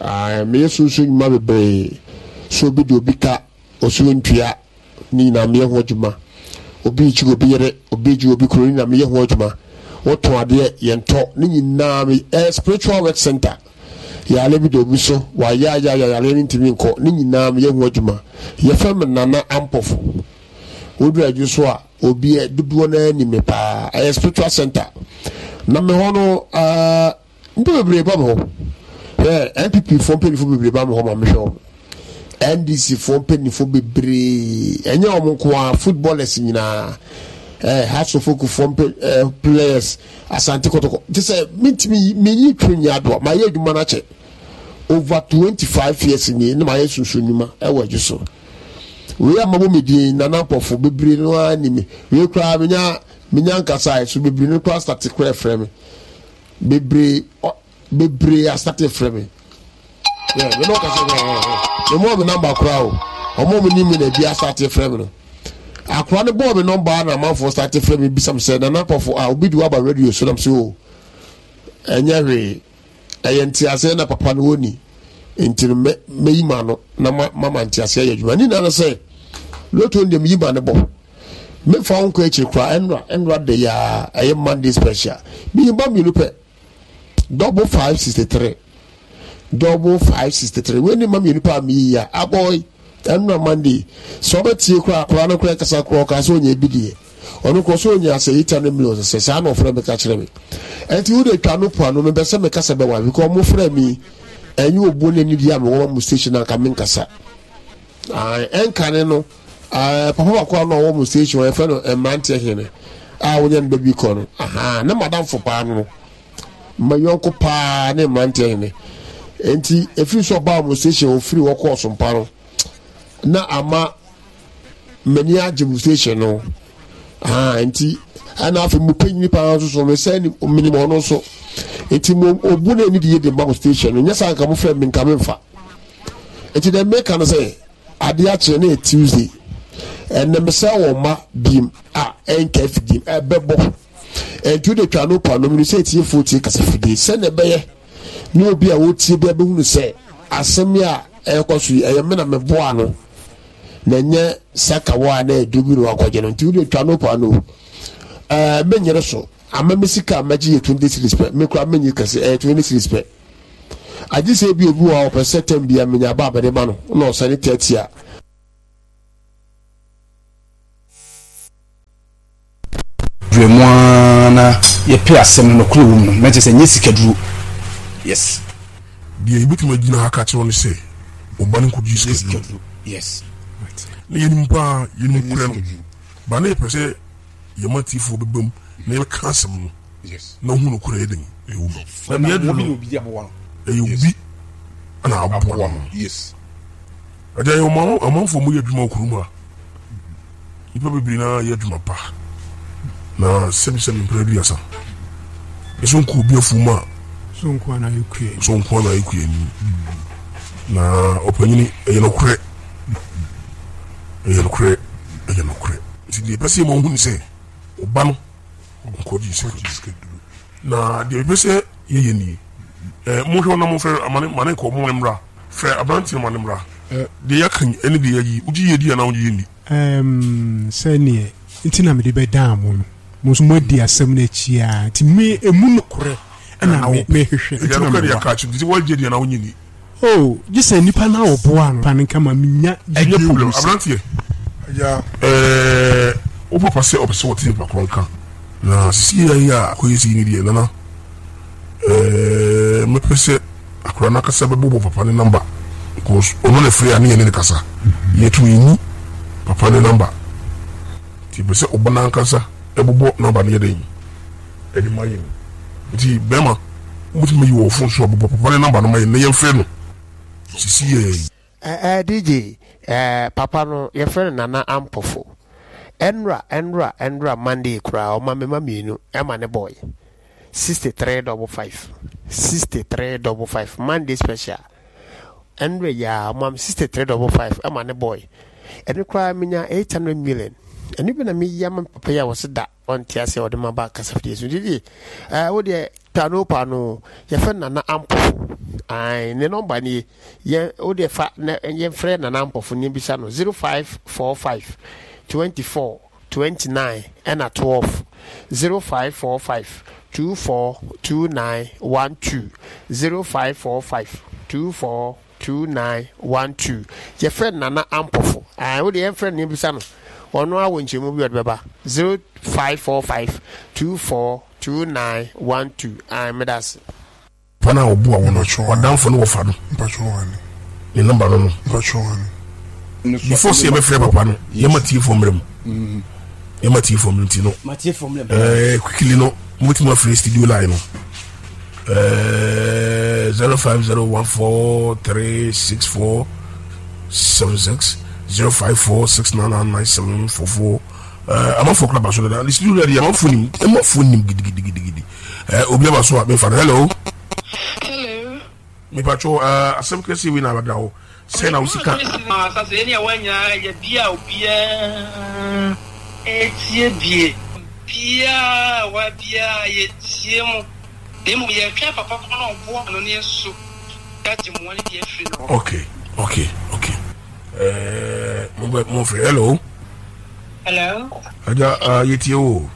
Ah, meyɛ sunsun nnwuma bebree. So obi de obi ka, osuo ntua, ne nyinaa meyɛ ho adwuma. Obi rekyi obi yere, obi regye obi kuro, ne nyinaa meyɛ ho adwuma. Wotɔn adeɛ, yɛntɔ, ne nyinaa me ɛyɛ spiritual work center. Yare bi da obi so, wayayaya yare no ntumi nkɔ, ne nyinaa meyɛ ho adwuma. Yɛfrɛ me Nana Ampɔfo. Woduru adwo so a, obi dodoɔ no ara nim me paa. Ɛyɛ spiritual center. Na me hɔ no, uh, nnipa bebree ba me hɔ. Hwɛ, N P P foɔ mpanimfoɔ bebree ba me hɔ ma mehwɛ wɔn. N D C foɔ mpanimfoɔ bebree, ɛnyɛ wɔn nko ara, footballers nyinaa, eh, Hearts of Oak foɔ mpe, eh, players, Asante Kotoko. Te sɛ mentumi menyi twe nyɛ adoa, mayɛ adwuma no akyɛ. Over twenty-five years nie na mayɛ sunsun nnwuma ɛwɔ adwo so. Wei a mabɔ me din Nana Mpɔfo bebree no ara ni me. Wei koraa menya menya nkasa so bebree no koraa start koraa frɛ me. Bebree bebree asate frɛ me. Yeah, me no kasa me mo me number koraa o. Ɔmo mo ni me na bi asate frɛ me no. Akora ne bɔɔ me number na amanfo start frɛ me bisam sɛ Nana Mpɔfo a obi di waba radio so nam sɛ o. Ɛnyɛ hwee. Ɛyɛ nteaseɛ na papa no wɔni nti no mɛyi ma no na mama nteaseɛ yɛ adwuma ne nyinaa no sɛ loto no deɛ meyi ma no bɔ memfa wo nkɔ akyiri koraa ɛnora ɛnora de yɛ ɛyɛ Monday special meyi ba mmienu pɛ double five sixty three double five sixty three wei ne ma mmienu pɛ a meyi ya abɔe ɛnora Monday sɛ ɔbɛtie koraa koraa no koraa kasa koraa ɔkaa sɛ ɔnyɛ bi deɛ ɔno kɔ so ɔnya sɛ eight hundred million sɛ saa na ɔfrɛ me ka kyerɛ me ɛnti wode twa no po ano mepɛ sɛ mekasa bɛwa because ɔmo frɛ mi ɛnyɛ obuo ne anidie a mewɔ ma mo station anka menkasa ɛnkane no papa baako a na ɔwɔ mo station ɔyɛfrɛ no mmeranteɛ hene a wonya no baabi kɔ no aha ne madamfo paa no ma yɔnko paa ne mmeranteɛ hene nti ɛfiri so ɔbaa mo station ɔfiri hɔ kɔɔ sompa no na ama m'ani agye mo station no ah nti ɛna afei mo panyin paa nso so mesɛ menim ɔno nso nti mo obu na ani de yɛ de ma mo station no nyɛ saa nka mo frɛ me nka me mfa nti dɛ meka no sɛ adeɛ akyerɛ ne yɛ Tuesday ɛnɛ mesɛ wɔn ma biem a ɛnka afidie ɛbɛbɔ ɛnti wode twa no pa no mene sɛ atiefoɔ tie kasa fidie sɛdeɛ ɛbɛyɛ ne obi a wɔtie bi abɛhunu sɛ asɛm yi a ɛrekɔ so yi ɛyɛ me na meboa no na nyɛ sakawa a na ɛduru bi na wakɔgye no nti wode twa no pa no ɛɛ menyere so ama me sika a mɛgye yɛ twenty series pɛ me kora menye kɛse ɛyɛ twenty series pɛ agye sɛ ebi obi wɔ a ɔpɛ sɛ tɛm bia menya ba abɛde ma no na ɔsane thirty a Dwɛ mu ara na yɛpɛ asɛm no nokorɛ wɔ mu no na kyerɛ sɛ ɛnyɛ sikaduro. Yes. Deɛ yɛbɛtumi agyina ha aka akyerɛ wo ne sɛ wo ba no nkɔgye sikaduro. Yes. Na yɛnim paa, yɛnim korɛ no. Ba na yɛpɛ sɛ yɛma tiefoɔ bɛba mu na yɛbɛka asɛm no na wohu nokorɛ yɛ den ɛwɔ mu. Na deɛ aduru no ɛyɛ obi na aboa no. Yes. Agya yɛ ɔmanfoɔ mu yɛ adwuma wɔ kurom ha. Nnipa bebree na yɛ adwuma pa na sɛbisɛbi mpere aduasa. Ɛso nko obi afuom a so nko ana ayɛ kuani. So nko ana ayɛ kuani. Na ɔpanyini ɛyɛ nokorɛ. Ɛyɛ nokorɛ, ɛyɛ nokorɛ. Nti deɛ ɛpɛ sɛ yɛma wohu ne sɛ ɔba no nkɔgye sikaduro. Na deɛ ɛpɛ sɛ yɛyɛ nie. Eh, monhwɛ na momfrɛ amane mane nkɔ mo mmra. Frɛ aberanteɛ no ma no mmra. Deɛ yɛaka yi ɛne deɛ yɛayi, wogye yɛ di anaa wogye yɛ nni? Ɛɛm, sɛdeɛ nti na mede bɛdaa mo no, mo nso moadi asɛm no akyi ara, nti me, ɛmu nokorɛ na me, mehwehwɛ, nti na meboa. Oh, gye sɛ nipa no a ɔboaa no no nka ma menya gyidie Ɛnyɛ wɔ problem, mu sɛ. aberanteɛ. Ɛɛ, wo papa sɛ ɔpɛ sɛ ɔte nipa korɔ nka, na sisi yɛ a akɔyɛ sei no deɛ, Nana, ɛɛ, mɛpɛ sɛ akwadaa no ankasa bɛbobɔ papa ne number because ɔno na ɛfrɛ a ne yɛne no kasa. Yɛto yɛnni papa ne number. Nti yɛpɛ sɛ ɔba no ankasa ɛbobɔ number no yɛ dɛn ɛde ma yɛn. Nti bɛrima, wobɛtumi ayi wɔ wo phone so a bobɔ papa ne number no ma yɛn na yɛmfrɛ no sisi yɛ yi. Eh eh D J eh papa no yɛfrɛ no Nana Ampofo. Ɛnra ɛnra ɛnra Monday koraa ɔma me ma mmienu ɛma ne boy. Sixty three double five sixty three double five Monday special. Ɛnra yi ara ɔma me sixty three double five ɛma ne boy. Ɛno koraa menya eight hundred million. Ɛno bi na meyi ama papa yi a wɔse da ɔnte aseɛ ɔde ma ba kasafidie so. Didi ɛɛ wo deɛ paano paano yɛfrɛ Nana Ampofo. Ae ne nɔmba nie. Yɛn wo deɛ fa na yɛmfrɛ Nana Ampofo ne bisa no zero five four five twenty four twenty nine ɛna twelve zero five four five two four two nine one two zero five four five two four two nine one two. Yɛfrɛ Nana Ampofo. Ae wo deɛ yɛmfrɛ no ne bisa no. Ɔno ara wɔ nkyɛmu bi ɔde bɛba zero five four five two four two nine one two. Ae meda ase. Papa no a ɔboa wo no, w'adamfo ne wɔfa no, ne number no no. Before sɛ yɛbɛfrɛ papa no, yɛma tiefoɔ mmerɛ mu. Yɛma tiefoɔ mmerɛ nti no, eh, quickly no, mobɛtumi afrɛ studio line no. Eh, zero five zero one four three six four seven six zero five four six nine nine nine seven four four. Eh, amanfoɔ kora ba so dada. Studio line deɛ amanfoɔ nim, amanfoɔ nim gidigidigidi. Eh, obi aba so a mefa no. Hello. Hello. Mepatwo uh, asɛm kɛseɛ wei na abɛda hɔ sɛ na wo sika. Asase yɛ ne ɛwɔ nyinaa yɛ bia obiara ɛtie bie. Biaa wa biaa yɛtie mu na mmom yɛtwɛn papa ko na ɔboa no ne yɛso yɛagye mmoa no bi afiri no hɔ. Okay, okay, okay. Eh, mo bɛ mo fɛ. Hello. Hello. Agya, uh, yɛtie wo.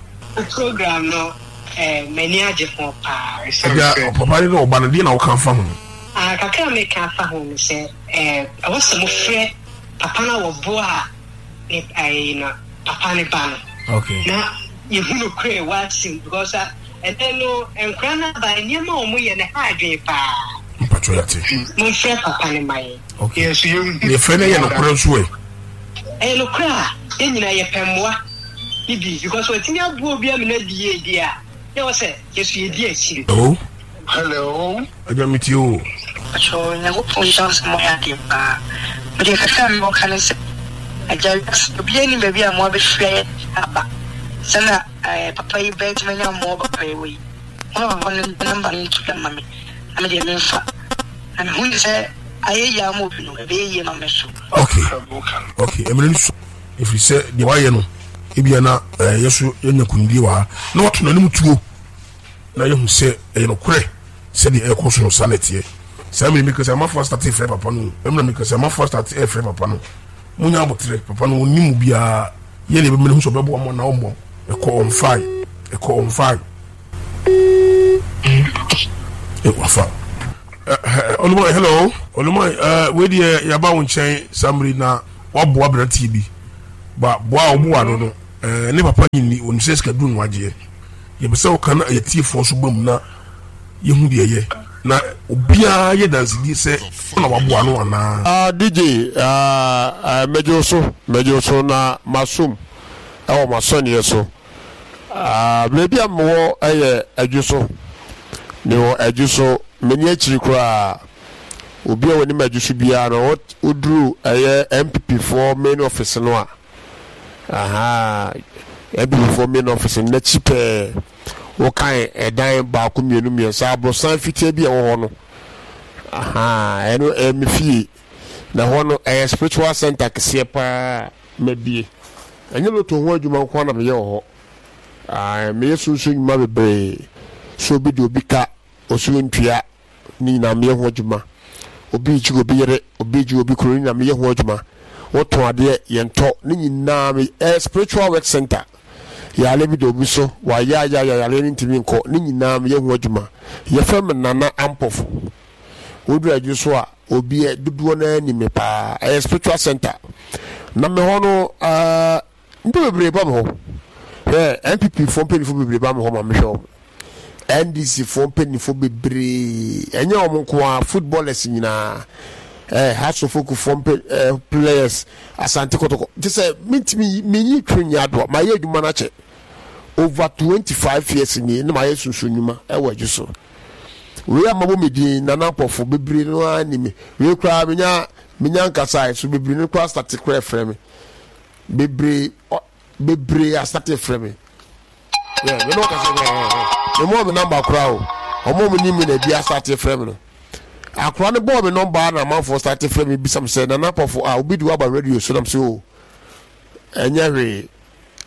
Program no eh, m'ani agye ho paa. Agya, papa ne na ɔba no deɛ na woka fa ho? Ah, kakra a meka fa ho ne sɛ eh, ɛwɔ sɛ mofrɛ papa no a wɔboa ne eh, no papa ne ba no. Okay. Na yɛhu no korɛ wɔ asim because ɛnɛ no nkora no aba nneɛma a wɔyɛ no ha adwene paa. Mpatwɔ yɛate. Momfrɛ papa no ma yɛn. Okay. Yɛfrɛ no yɛ nokorɛ nso ɛ. Ɛyɛ nokorɛ a yɛn nyinaa yɛpɛ mmoa ne bi because watumi aboa obi ama no adi yie deɛ a na ɛwɔ sɛ yɛso yɛdi akyire. Hello. Hello. Agya metie o. Pacho Nyankopɔn nhyira wo sɛ moayɛ adeɛ paa. Medeɛ kakra a mewɔ ka ne sɛ agya wiase obiara nnim baabi a mmoa bɛfiri ayɛ aba. Sɛ na eh, papa yi bɛtumi anya mmoa papa yi wɔ yi. Mo papa no namba no nto dwa ma me na medeɛ memfa. Na mehu ne sɛ ayɛ yie ama obi no ɛbɛyɛ yie ma me so. Okay. Okay. Ɛmmerɛ no so ɛfiri sɛ deɛ wayɛ no ebia na eh, yɛ so yɛnya kunimdie wɔ ha na wato n'anim tuo na yɛhu sɛ ɛyɛ nokorɛ sɛdeɛ ɛkɔ so no saa na ɛteɛ. Saa mmerɛ meka sɛ amafoɔ astate frɛ papa no mmerɛ meka sɛ amafoɔ astate ɛfrɛ papa no monya aboterɛ papa no ɔnni mu biara yɛ ne ɛbɛmene hu sɛ ɔbɛboa mo anaa ɔmmɔ ɛkɔ ɔmfae ɛkɔ ɔmfae wafa. Olumai, hello. Olumai, uh, wei deɛ yɛaba wo nkyɛn saa mmere na waboa aberanteɛ bi. Ba boa a woboa no no, Ɛɛ ne papa nyini onim sɛ sika duru no agyeɛ. Yɛpɛ sɛ woka na yɛtiefoɔ nso ba mu na yɛhu deɛ ɛyɛ na obiara yɛ dansedie sɛ wo na waboa no anaa. Ah D J, ah, ah, mɛgye wo so, mɛgye wo so na masom ɛwɔ m'asɔneɛ so. Ah, baabi a mewɔ ɛyɛ Adwo so. Mewɔ Adwo so, m'ani akyiri koraa. Obi a wɔnim Adwo so biara no, woduru ɛyɛ N P P foɔ main office no a, aha, N P P foɔ main office no n'akyi pɛɛ, wokan ɛdan baako, mmienu, mmiɛnsa, aborosan fitaa bi a ɛwɔ hɔ no, aha, ɛno ɛyɛ me fie. Na hɔ no ɛyɛ spiritual center kɛseɛ paa mabie. Ɛnyɛ lotto ho adwuma nko na meyɛ wɔ hɔ. Ah, meyɛ sunsun nnwuma bebree. So obi de obi ka osuo ntua ne nyinaa, meyɛ ho adwuma. Obi gye obi yere, obi gye obi kuro, ne nyinaa meyɛ ho adwuma. Wotɔn adeɛ, yɛntɔ, ne nyinaa me ɛyɛ spiritual work center. Yare bi da obi so, wayɛ ayɛ ayɛ, yare no ntumi nkɔ, ne nyinaa meyɛ ho adwuma. Yɛfrɛ me Nana Ampɔfo. Woduru Adwo so a, obi dodoɔ no anim me paa. Ɛyɛ spiritual center na me hɔ no. ɛɛ nipa bebree ba me hɔ. Hwɛ, N P P foɔ mpanyinfoɔ bebree ba me hɔ ma mehwɛ wɔn. N D C foɔ mpanyinfoɔ bebree, ɛnyɛ wɔn nko a, footballers nyinaa, ɛɛ Hearts of Oak foɔ mpe ɛɛ players, Asante Kɔtɔkɔ te sɛ mintimi minyi twe nyi adoa. Ma yɛ adwuma n'akyɛ over twenty five years nie na ma yɛ sunsun nnwuma ɛwɔ Adwo so. Wei a mabɔ me din Nana Mpɔfo, bebree no ara ni me. Wei koraa menya menya nkasa so, bebree no koraa start koraa frɛ me bebree, ɔ bebree astart frɛ me. Yɛ me ne ɔkasa koraa, me mɔ me number koraa o. Ɔmo mo ni mi na ebi astart frɛ me no. Akora no bɔɔ me number na amanfoɔ start frɛ me bisa me sɛ, "Nana Pɔfo a obi de waba radio so?" Nam sɛ, "O, ɛnyɛ hwee,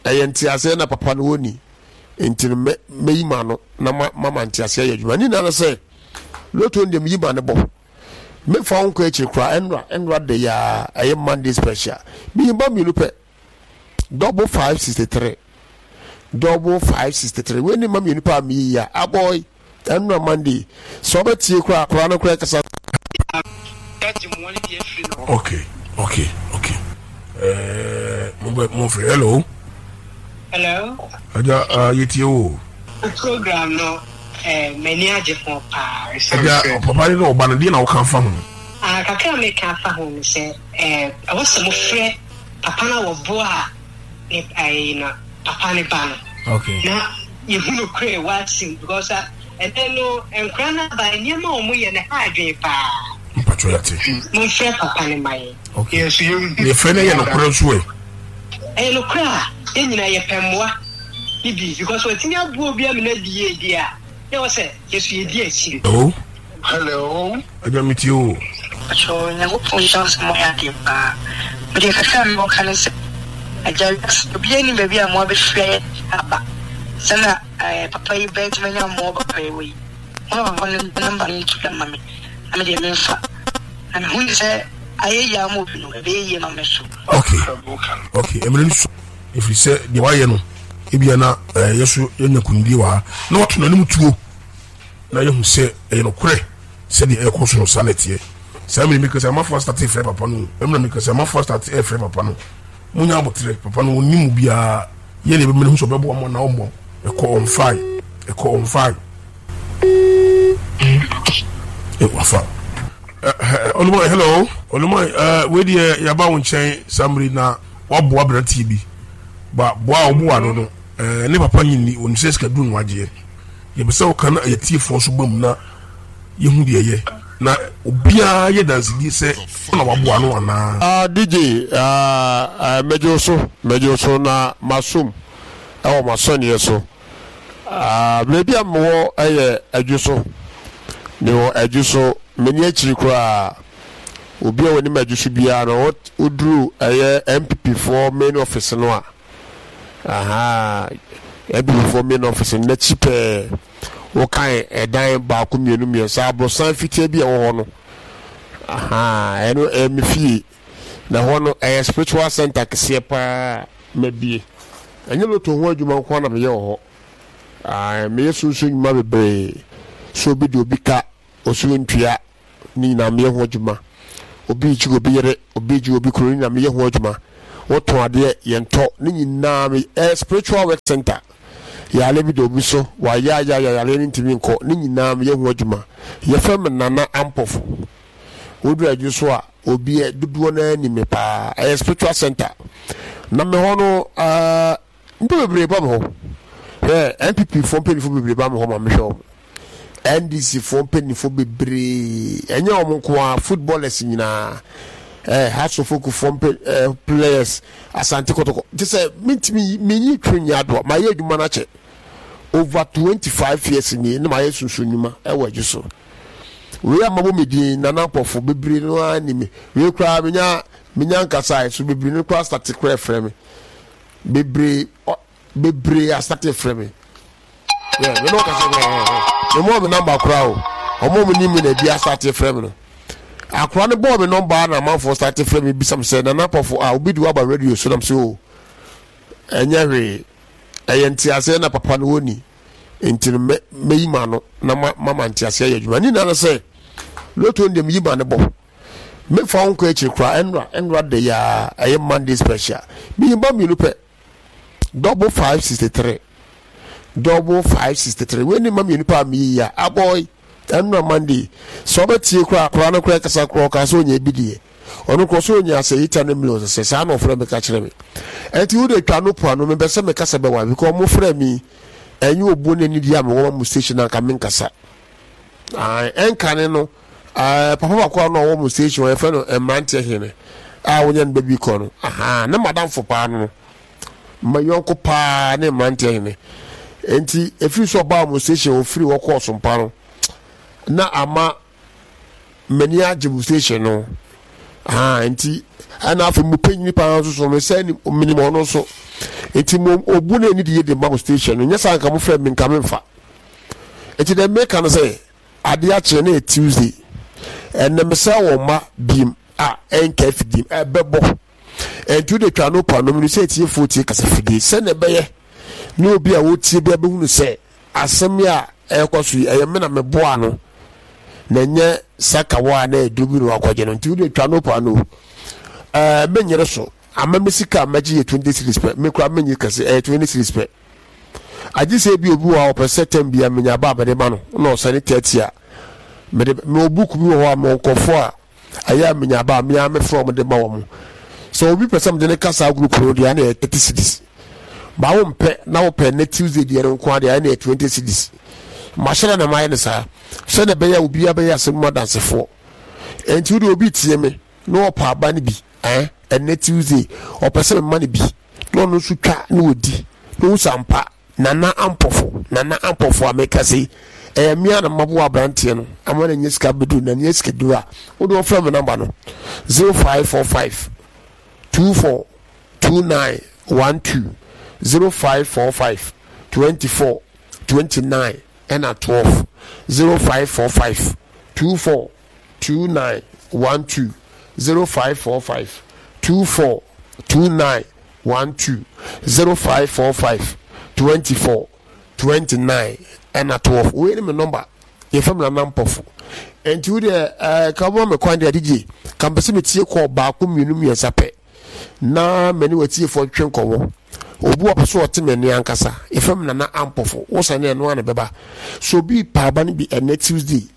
ɛyɛ nteaseɛ na papa no wɔni nti no mɛ mɛyi ma no na ma mama nteaseɛ yɛ adwuma." Ne nyinaa no sɛ lotto no deɛ, meyi ma no bɔ mefa wo nkɔ akyiri koraa. Ɛnora ɛnora de yaa ɛyɛ Monday special, meyi ba mmienu pɛ, double five sixty three, double five sixty three. Wei ne ma mmienu pɛ a meyi a abɔi ɛnora Monday. Sɛ ɔbɛtie koraa, koraa no koraa kasa. okay okay okay ɛɛ mo bɛ mo fɛ. Hello. Hello. Agya, uh, yɛtie o. Program no, eh, m'ani agye ho paa. Agya, papa ne na ɔba no deɛ na woka fa ho? Ah, kakra a meka fa ho no sɛ, eh, ɛwɔ sɛ mofrɛ papa no a wɔboa a ne ɛyi no, papa ne ba no. Okay. Na yɛhu no korɛ w'asɛm because ah, ɛnɛ no nkora no aba, nneɛma a wɔyɛ no ha adwene paa. Mpatwɔ, yɛate. Momfrɛ papa no ma yɛn. Okay. Yɛfrɛ no, yɛ nokorɛ nso ɛ? Ɛyɛ nokorɛ a yɛn nyinaa yɛpɛ mmoa ne bi because watumi aboa obi ama no adi yie deɛ a, na ɛwɔ sɛ yɛso yɛdi akyire. Hello. Hello. Agya, metie o. Atwerɛ, Nyankopɔn nhyira wo sɛ moayɛ adeɛ paa. Medeɛ kakra a mewɔ ka ne sɛ, agya, wiase obiara nnim baabi a mmoa bɛfiri ayɛ aba. Sɛ na eh, papa yi bɛtumi anya mmoa papa yi wɔ yi. Moma papa no number no nto dwa ma me na medeɛ memfa. Na mehu ne sɛ ayɛ yie ama obi no, ɛbɛyɛ yie ma me so. okay okay mmerɛ no so ɛfiri sɛ deɛ wayɛ no, ebia na ɛɛ yɛ so yɛnya kunimdie wɔ ha na wato n'anim tuo na yɛhu sɛ ɛyɛ nokorɛ sɛdeɛ ɛkɔ so no, saa na ɛteɛ. Saa mmiri mi kasa, amafoɔ astart frɛ papa no. Ɛmuna mi kasa, amafoɔ astart ɛfrɛ papa no. Munya abotire, papa no wɔn mu biara yɛ ne bɛmɛ ne ho sɛ ɔbɛboa mo anaa ɔmmɔ. Ɛkɔ ɔnfae, ɛkɔ ɔnfae, ɛ wafa. Ɔlumai, hello Ɔlumai. Ɛɛ wei deɛ, yaba wo nkyɛn saa mmiri na waboa aberanteɛ bi ba boa a ɔboa no no ɛɛ ne papa nyini onim sɛ sika duru no agyeɛ. Yɛpɛ sɛ woka na yɛtiefoɔ nso ba mu na yɛhu deɛ ɛyɛ na obiara yɛ dansedie sɛ wo na waboa no anaa. Ah, D J, ah, ah, mɛgye wo so, mɛgye wo so na masom ɛwɔ m'asɔneɛ so. Ah, baabi a mewɔ ɛyɛ Adwo so. Mewɔ Adwo so, m'ani akyiri koraa. Obi a wɔnim Adwo so biara no, woduru ɛyɛ N P P foɔ main office no a, aha, N P P foɔ main office no n'akyi pɛɛ, wokan ɛdan baako, mmienu, mmiɛnsa, aborosan fitaa bi a ɛwɔ hɔ no, aha, ɛno ɛyɛ me fie. Na hɔ no ɛyɛ spiritual center kɛseɛ paa mabie. Ɛnyɛ lotto ho adwuma nko na meyɛ wɔ hɔ. Ah, meyɛ sunsun nnwuma bebree. So obi de obi ka osuo ntua, ne nyinaa meyɛ ho adwuma. Obi gye obi yere, obi gye obi kuro, ne nyinaa meyɛ ho adwuma. Wotɔn adeɛ, yɛntɔ ne nyinaa. Me ɛyɛ Spiritual Work Center. Yare bi da obi so, wayayaya, yareɛ no ntumi nkɔ, ne nyinaa meyɛ ho adwuma. Yɛfrɛ me Nana Ampɔfo. Woduru adwo so a, obi dodoɔ no ara nim me paa. Ɛyɛ Spiritual Center. Na me hɔ no, ɛɛ nnipa bebree ba me hɔ. Hwɛ, N P P foɔ mpanimfoɔ bebree ba me hɔ ma mehwɛ wɔn. N D C foɔ mpanimfoɔ bebree, ɛnyɛ wɔn nko ara, footballers nyinaa, ɛɛ Hearts of Oak foɔ mpe ɛɛ players, Asante Kɔtɔkɔ. Te sɛ mintimi minyi twe nyi adoa, ma yɛ adwuma no akyɛ over twenty five years nie na ma yɛ sunsun nnwuma ɛwɔ adwo so. Wei a mabɔ me din Nana Mpɔfo, bebree no ara ni me. Wei koraa menya menya nkasa so, bebree no koraa start koraa frɛ me bebree, ɔ bebree astart frɛ me yɛ me ne ɔkasa koraa. Me mɔ me number koraa o, ɔmo mo ni mi na ebi astart frɛ me no. Akora no bɔɔ me number na amanfoɔ start frɛ me bisa me sɛ, "Nana Pɔfo a obi de waba radio so?" Nam sɛ, "O, ɛnyɛ hwee, ɛyɛ nteaseɛ na papa no wɔni nti no mɛ mɛyi ma no na ma mama nteaseɛ yɛ adwuma." Ne nyinaa no sɛ lotto no deɛ, meyi ma no bɔ mefa wo nkɔ akyiri koraa. ɛnora ɛnora de yaa ɛyɛ Monday special, meyi ba mmienu pɛ, double five sixty three, double five sixty three. Wei ne ma mmienu pɛ a meyi a abɔi ɛnora Monday. Sɛ ɔbɛtie koraa, koraa no koraa kasa koraa, ɔka sɛ ɔnya bi deɛ, ɔno korɔ sɛ ɔnya sɛ eight hundred million sɛ saa na ɔfrɛ me ka kyerɛ me. Ɛnti wode twa no po ano, mepɛ sɛ mekasa bɛwa because ɔmo frɛ mi, ɛnyɛ obuo no ani deɛ a mewɔ ma mo station anka menkasa. Ɛnkane no, papa baako a na ɔwɔ mo station, yɛfrɛ no mmeranteɛ hene a wonya no baabi kɔ no, aha ne madamfo paa no no ma yɔnko paa ne mmeranteɛ hene. Nti ɛfiri sɛ ɔbaa mo station, ɔfiri hɔ kɔɔ sompa no na ama m'ani agye mo station no. Ah, nti ɛna afei mo panyin paa nso so mesɛ menim ɔno nso, nti mo obu na ani de yɛ de ma mo station no. Nyɛ saa nka mo frɛ me nka memfa. Nti dɛ meka no sɛ adeɛ akyerɛ na yɛ Tuesday ɛnɛ, mesɛ wɔ mma biem a ɛnka afidie ɛbɛbɔ. Ɛnti wode twa no pa nom no sɛ atiefoɔ tie kasa fidie sɛnea ɛbɛyɛ ne obi a wɔtie bi abɛhunu sɛ asɛm yi a ɛrekɔ so yi, ɛyɛ me na meboa no na ɛnyɛ sakawa a na ɛduru bi na wakɔgye no. Nti wode twa no pa no, ɛɛ menyere so ama me sika a mɛgye yɛ twenty cedis pɛ. Me kora menye kɛse, ɛyɛ twenty cedis pɛ. Agye sɛ bi obi wɔ hɔ a ɔpɛ sɛ tɛm bia menya ba a mede ma no na ɔsɛne thirty a mede. Mewɔ book bi wɔ hɔ a mewɔ nkɔfoɔ a ɛyɛ a menya ba a mea mefrɛ wɔn de ma wɔn. Sɛ obi pɛ sɛ mede ne ka saa group no deɛ, ɛna yɛ thirty cedis. Ba wo mpɛ na wopɛ ne Tuesday deɛ no nko adeɛ, ɛna yɛ twenty cedis. Mahyɛ na mayɛ no saa sɛdeɛ ɛbɛyɛ a obiara bɛyɛ asɛm mu adansefoɔ. Ɛnti wode obi tie me na ɔpɛ aba no bi, ɛn ɛnɛ Tuesday ɔpɛ sɛ mema no bi na ɔno nso twa na ɔdi na ɔhu sampa Nana Ampɔfo, Nana Ampɔfo a meka sɛ ɛyɛ mmea na maboa aberanteɛ no ama no nyɛ sika bɛduru na nyɛ sika duru a wode ɔfrɛ me number no zero five four five two four two nine one two, zero five four five twenty-four twenty-nine ɛna twelve, zero five four five two four two nine one two, zero five four five two four two nine one two, zero five four five twenty-four twenty-nine ɛna twelve. Wei ne me number, yɛfrɛ me Nana Mpɔfo. Nti wo deɛ, ɛɛ ka mo me kwan deɛ, D J ka mpɛ sɛ metie kɔɔ baako, mmienu, mmiɛnsa pɛ na mene watiefoɔ ntwe nkɔmmɔ. Obi wɔ pɛ so ɔte m'ani ankasa, yɛfrɛ me Nana Ampɔfo. Wosane ɛno a ne bɛba so obi paaba no bi ɛnɛ Tuesday.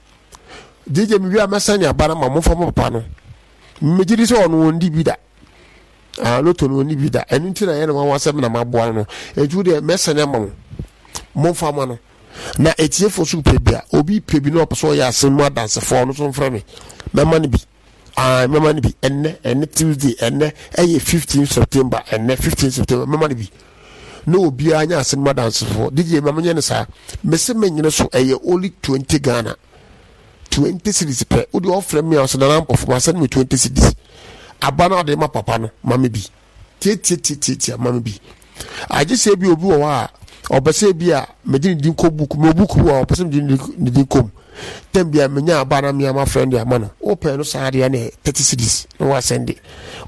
D J, mewie a mɛsane aba no ma momfa mo papa no. Megye di sɛ ɔno ɔndi bi da. Ah, lotto no ɔni bi da, ɛno nti na yɛ ne wawa sɛ na maboa no no. Ɛnti wo deɛ, mɛsane ama mo, momfa ma no. Na etiefoɔ so pɛ bi a, obi pɛ bi na ɔpɛ sɛ ɔyɛ asɛm mu adansefoɔ, ɔno nso mfrɛ me, mɛma no bi. Ah, mɛma no bi ɛnɛ ɛnɛ Tuesday. Ɛnɛ ɛyɛ fifteen September. Ɛnɛ fifteen September mɛma no bi na obiara nyɛ asɛm mu adansefoɔ. D J, ma menyɛ no saa. Mese menyere so, ɛyɛ only twenty Ghana, twenty cedis pɛ. Wode ɔfrɛ me a ɔsɛ Nana Mpɔfo ma sɛne me twenty cedis aba no ade ma papa no, ma me bi tietietietietia, ma me bi. Agye sɛ bi obi wɔ hɔ a ɔpɛ sɛ bi a mede ne din kɔ book me book bi wɔ a ɔpɛ sɛ mede ne din kɔ mu tɛm bi a menya aba na mea ma friend de ama no. Wopɛ no saa deɛ ne thirty cedis na wasɛnde,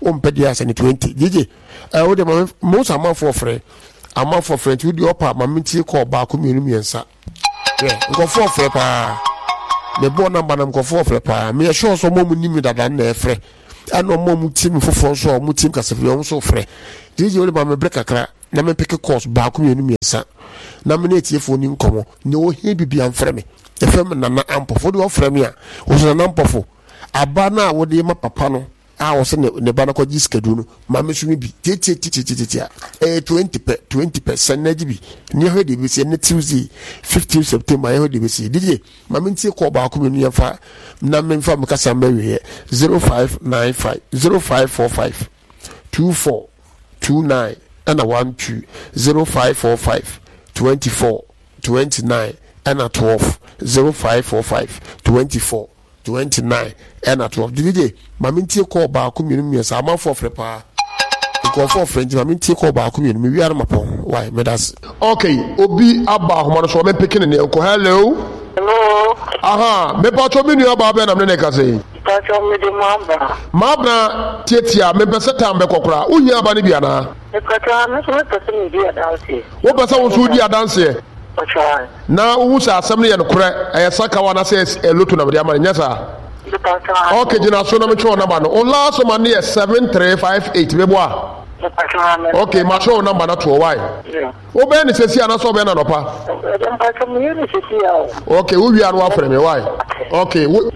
wompɛ deɛ asɛne twenty. Gyegye ɛ wode ma mo sɛ amanfoɔ frɛ, amanfoɔ frɛ. Nti wode ɔpa ma mentie kɔɔ baako, mmienu, mmiɛnsa. Hwɛ, nkɔfoɔ frɛ paa. Mebɔɔ number na nkɔfoɔ frɛ paa. Meyɛ sure sɛ ɔmo a ɔmo nim me dada no na ɛfrɛ. Ɛna ɔmo a ɔmo tie me foforɔ nso a ɔmo tie me kasafiri ɔmo nso frɛ. D J, wode ma me berɛ kakra na mempeke calls baako, mmienu, mmiɛnsa na me ne atiefoɔ ni nkɔmmɔ. Nea ɔhia bibia mfrɛ me. Yɛfrɛ me Nana Ampɔfo. Wode wɔfrɛ me a, wɔsɛ Nana Ampɔfo aba no a wode ma papa no a wɔsɛ ne ne ba no kɔgye sikaduro no, ma me so me bi tietietietie a ɛyɛ twenty pɛ, twenty pɛ. Sɛn na agye bi ne yɛhwɛ deɛ ɛbɛsi. Ɛnɛ Tuesday, fifteen September, yɛhwɛ deɛ ɛbɛsi. D J, ma mentie kɔɔ baako mmienu, yɛmfa na memfa me kasa mbɛwieɛ. zero five nine five, zero five four five, two four two nine ɛna one two, zero five four five, twenty-four twenty-nine ɛna twelve, zero five four five, twenty-four twenty-nine ɛna twelve. D J, ma mentie kɔɔ baako, mmienu, mmiɛnsa. Amanfoɔ frɛ paa, nkurɔfoɔ frɛ, nti ma mentie kɔɔ baako mmienu, mewia no mapɔn wae. Meda ase. Okay, obi aba ahoma no so, ɔmempeke ne neɛ nkɔ. Hello. Hello. Aha, mepatwɔ, me nua baa bɛɛ nam ne ne kasa yi? Mpatsɔ, mede mo aba. Maabena, tietia, mepɛ sɛ tam bɛkɔ koraa. Wohia aba no bi anaa? Mpatsɔ, me nso mepɛ sɛ medi adanseɛ. Wopɛ sɛ wo nso wodi adanseɛ? Mpatsɔ. Na wohu sɛ asɛm no yɛ nokorɛ, ɛyɛ sakawa anaasɛ ɛyɛ lotto na mede ama no, nyɛ saa? Mpatsɔ. Ok, gyina so na metwerɛ wo number no. Wo last number no yɛ seven three five eight, meboa? Mpatsɔ, me. Ok, matwerɛ wo number no toɔ wae. Yeah. Wobɛyɛ ne sɛsi anaasɛ wobɛyɛ no anɔpa? Mpatsɔ, meyɛ ne sisi a o. Ok, wowie a no woafrɛ me wae. Ok, wo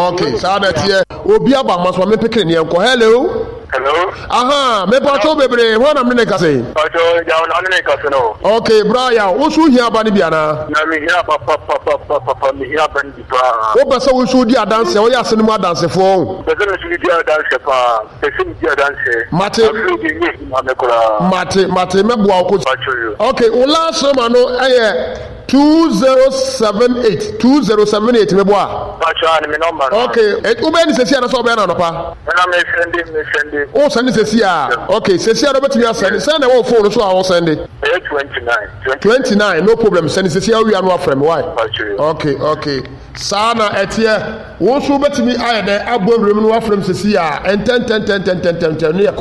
ok, saa na ɛteɛ. Obi aba ma so, ma mempekere neɛ nkɔ. Hello. Hello. Aha, mepatwo bebree, hɔ na mene ne kasa yi? Mpatsɔ, Yaw na ɔne ne kasa no. Ok, bra Yaw, wo nso wohia aba no bi anaa? Na mehia papapapapapa, mehia aba no bi paa. Wopɛ sɛ wo nso wodi adanseɛ, woyɛ ase no mu adansefoɔ o? Pɛ sɛ me nso medi adanseɛ paa, pɛ sɛ medi adanseɛ. Mate. Afei de nyɛ adwuma me koraa. Mate, mate, mɛboa wo kɔ. Mpatsɔ yo. Ok, wo last number no ɛyɛ two zero seven eight, two zero seven eight, meboa? Mpatsɔ, ane me number no. Ok, eh, wobɛyɛ ne sɛsi anasɛ wobɛyɛ no anɔpa? Ɛna mesɛnde mesɛnde. Wo sɛnde sɛsi a? Ok, sɛsi a no wobɛtumi asɛnde. Sɛn na ɛwɔ wo phone no so a wo sɛnde? Ɛyɛ twenty nine. Twenty nine, no problem. Sɛnde sɛsi a, wowia no afrɛ me wae. Mpatsɔ yo. ok ok saa na ɛteɛ. Wo nso wobɛtumi ayɛ dɛ abɔ awuram no wafrɛ m sɛsi a ntɛntɛntɛntɛntɛntɛm ne yɛ.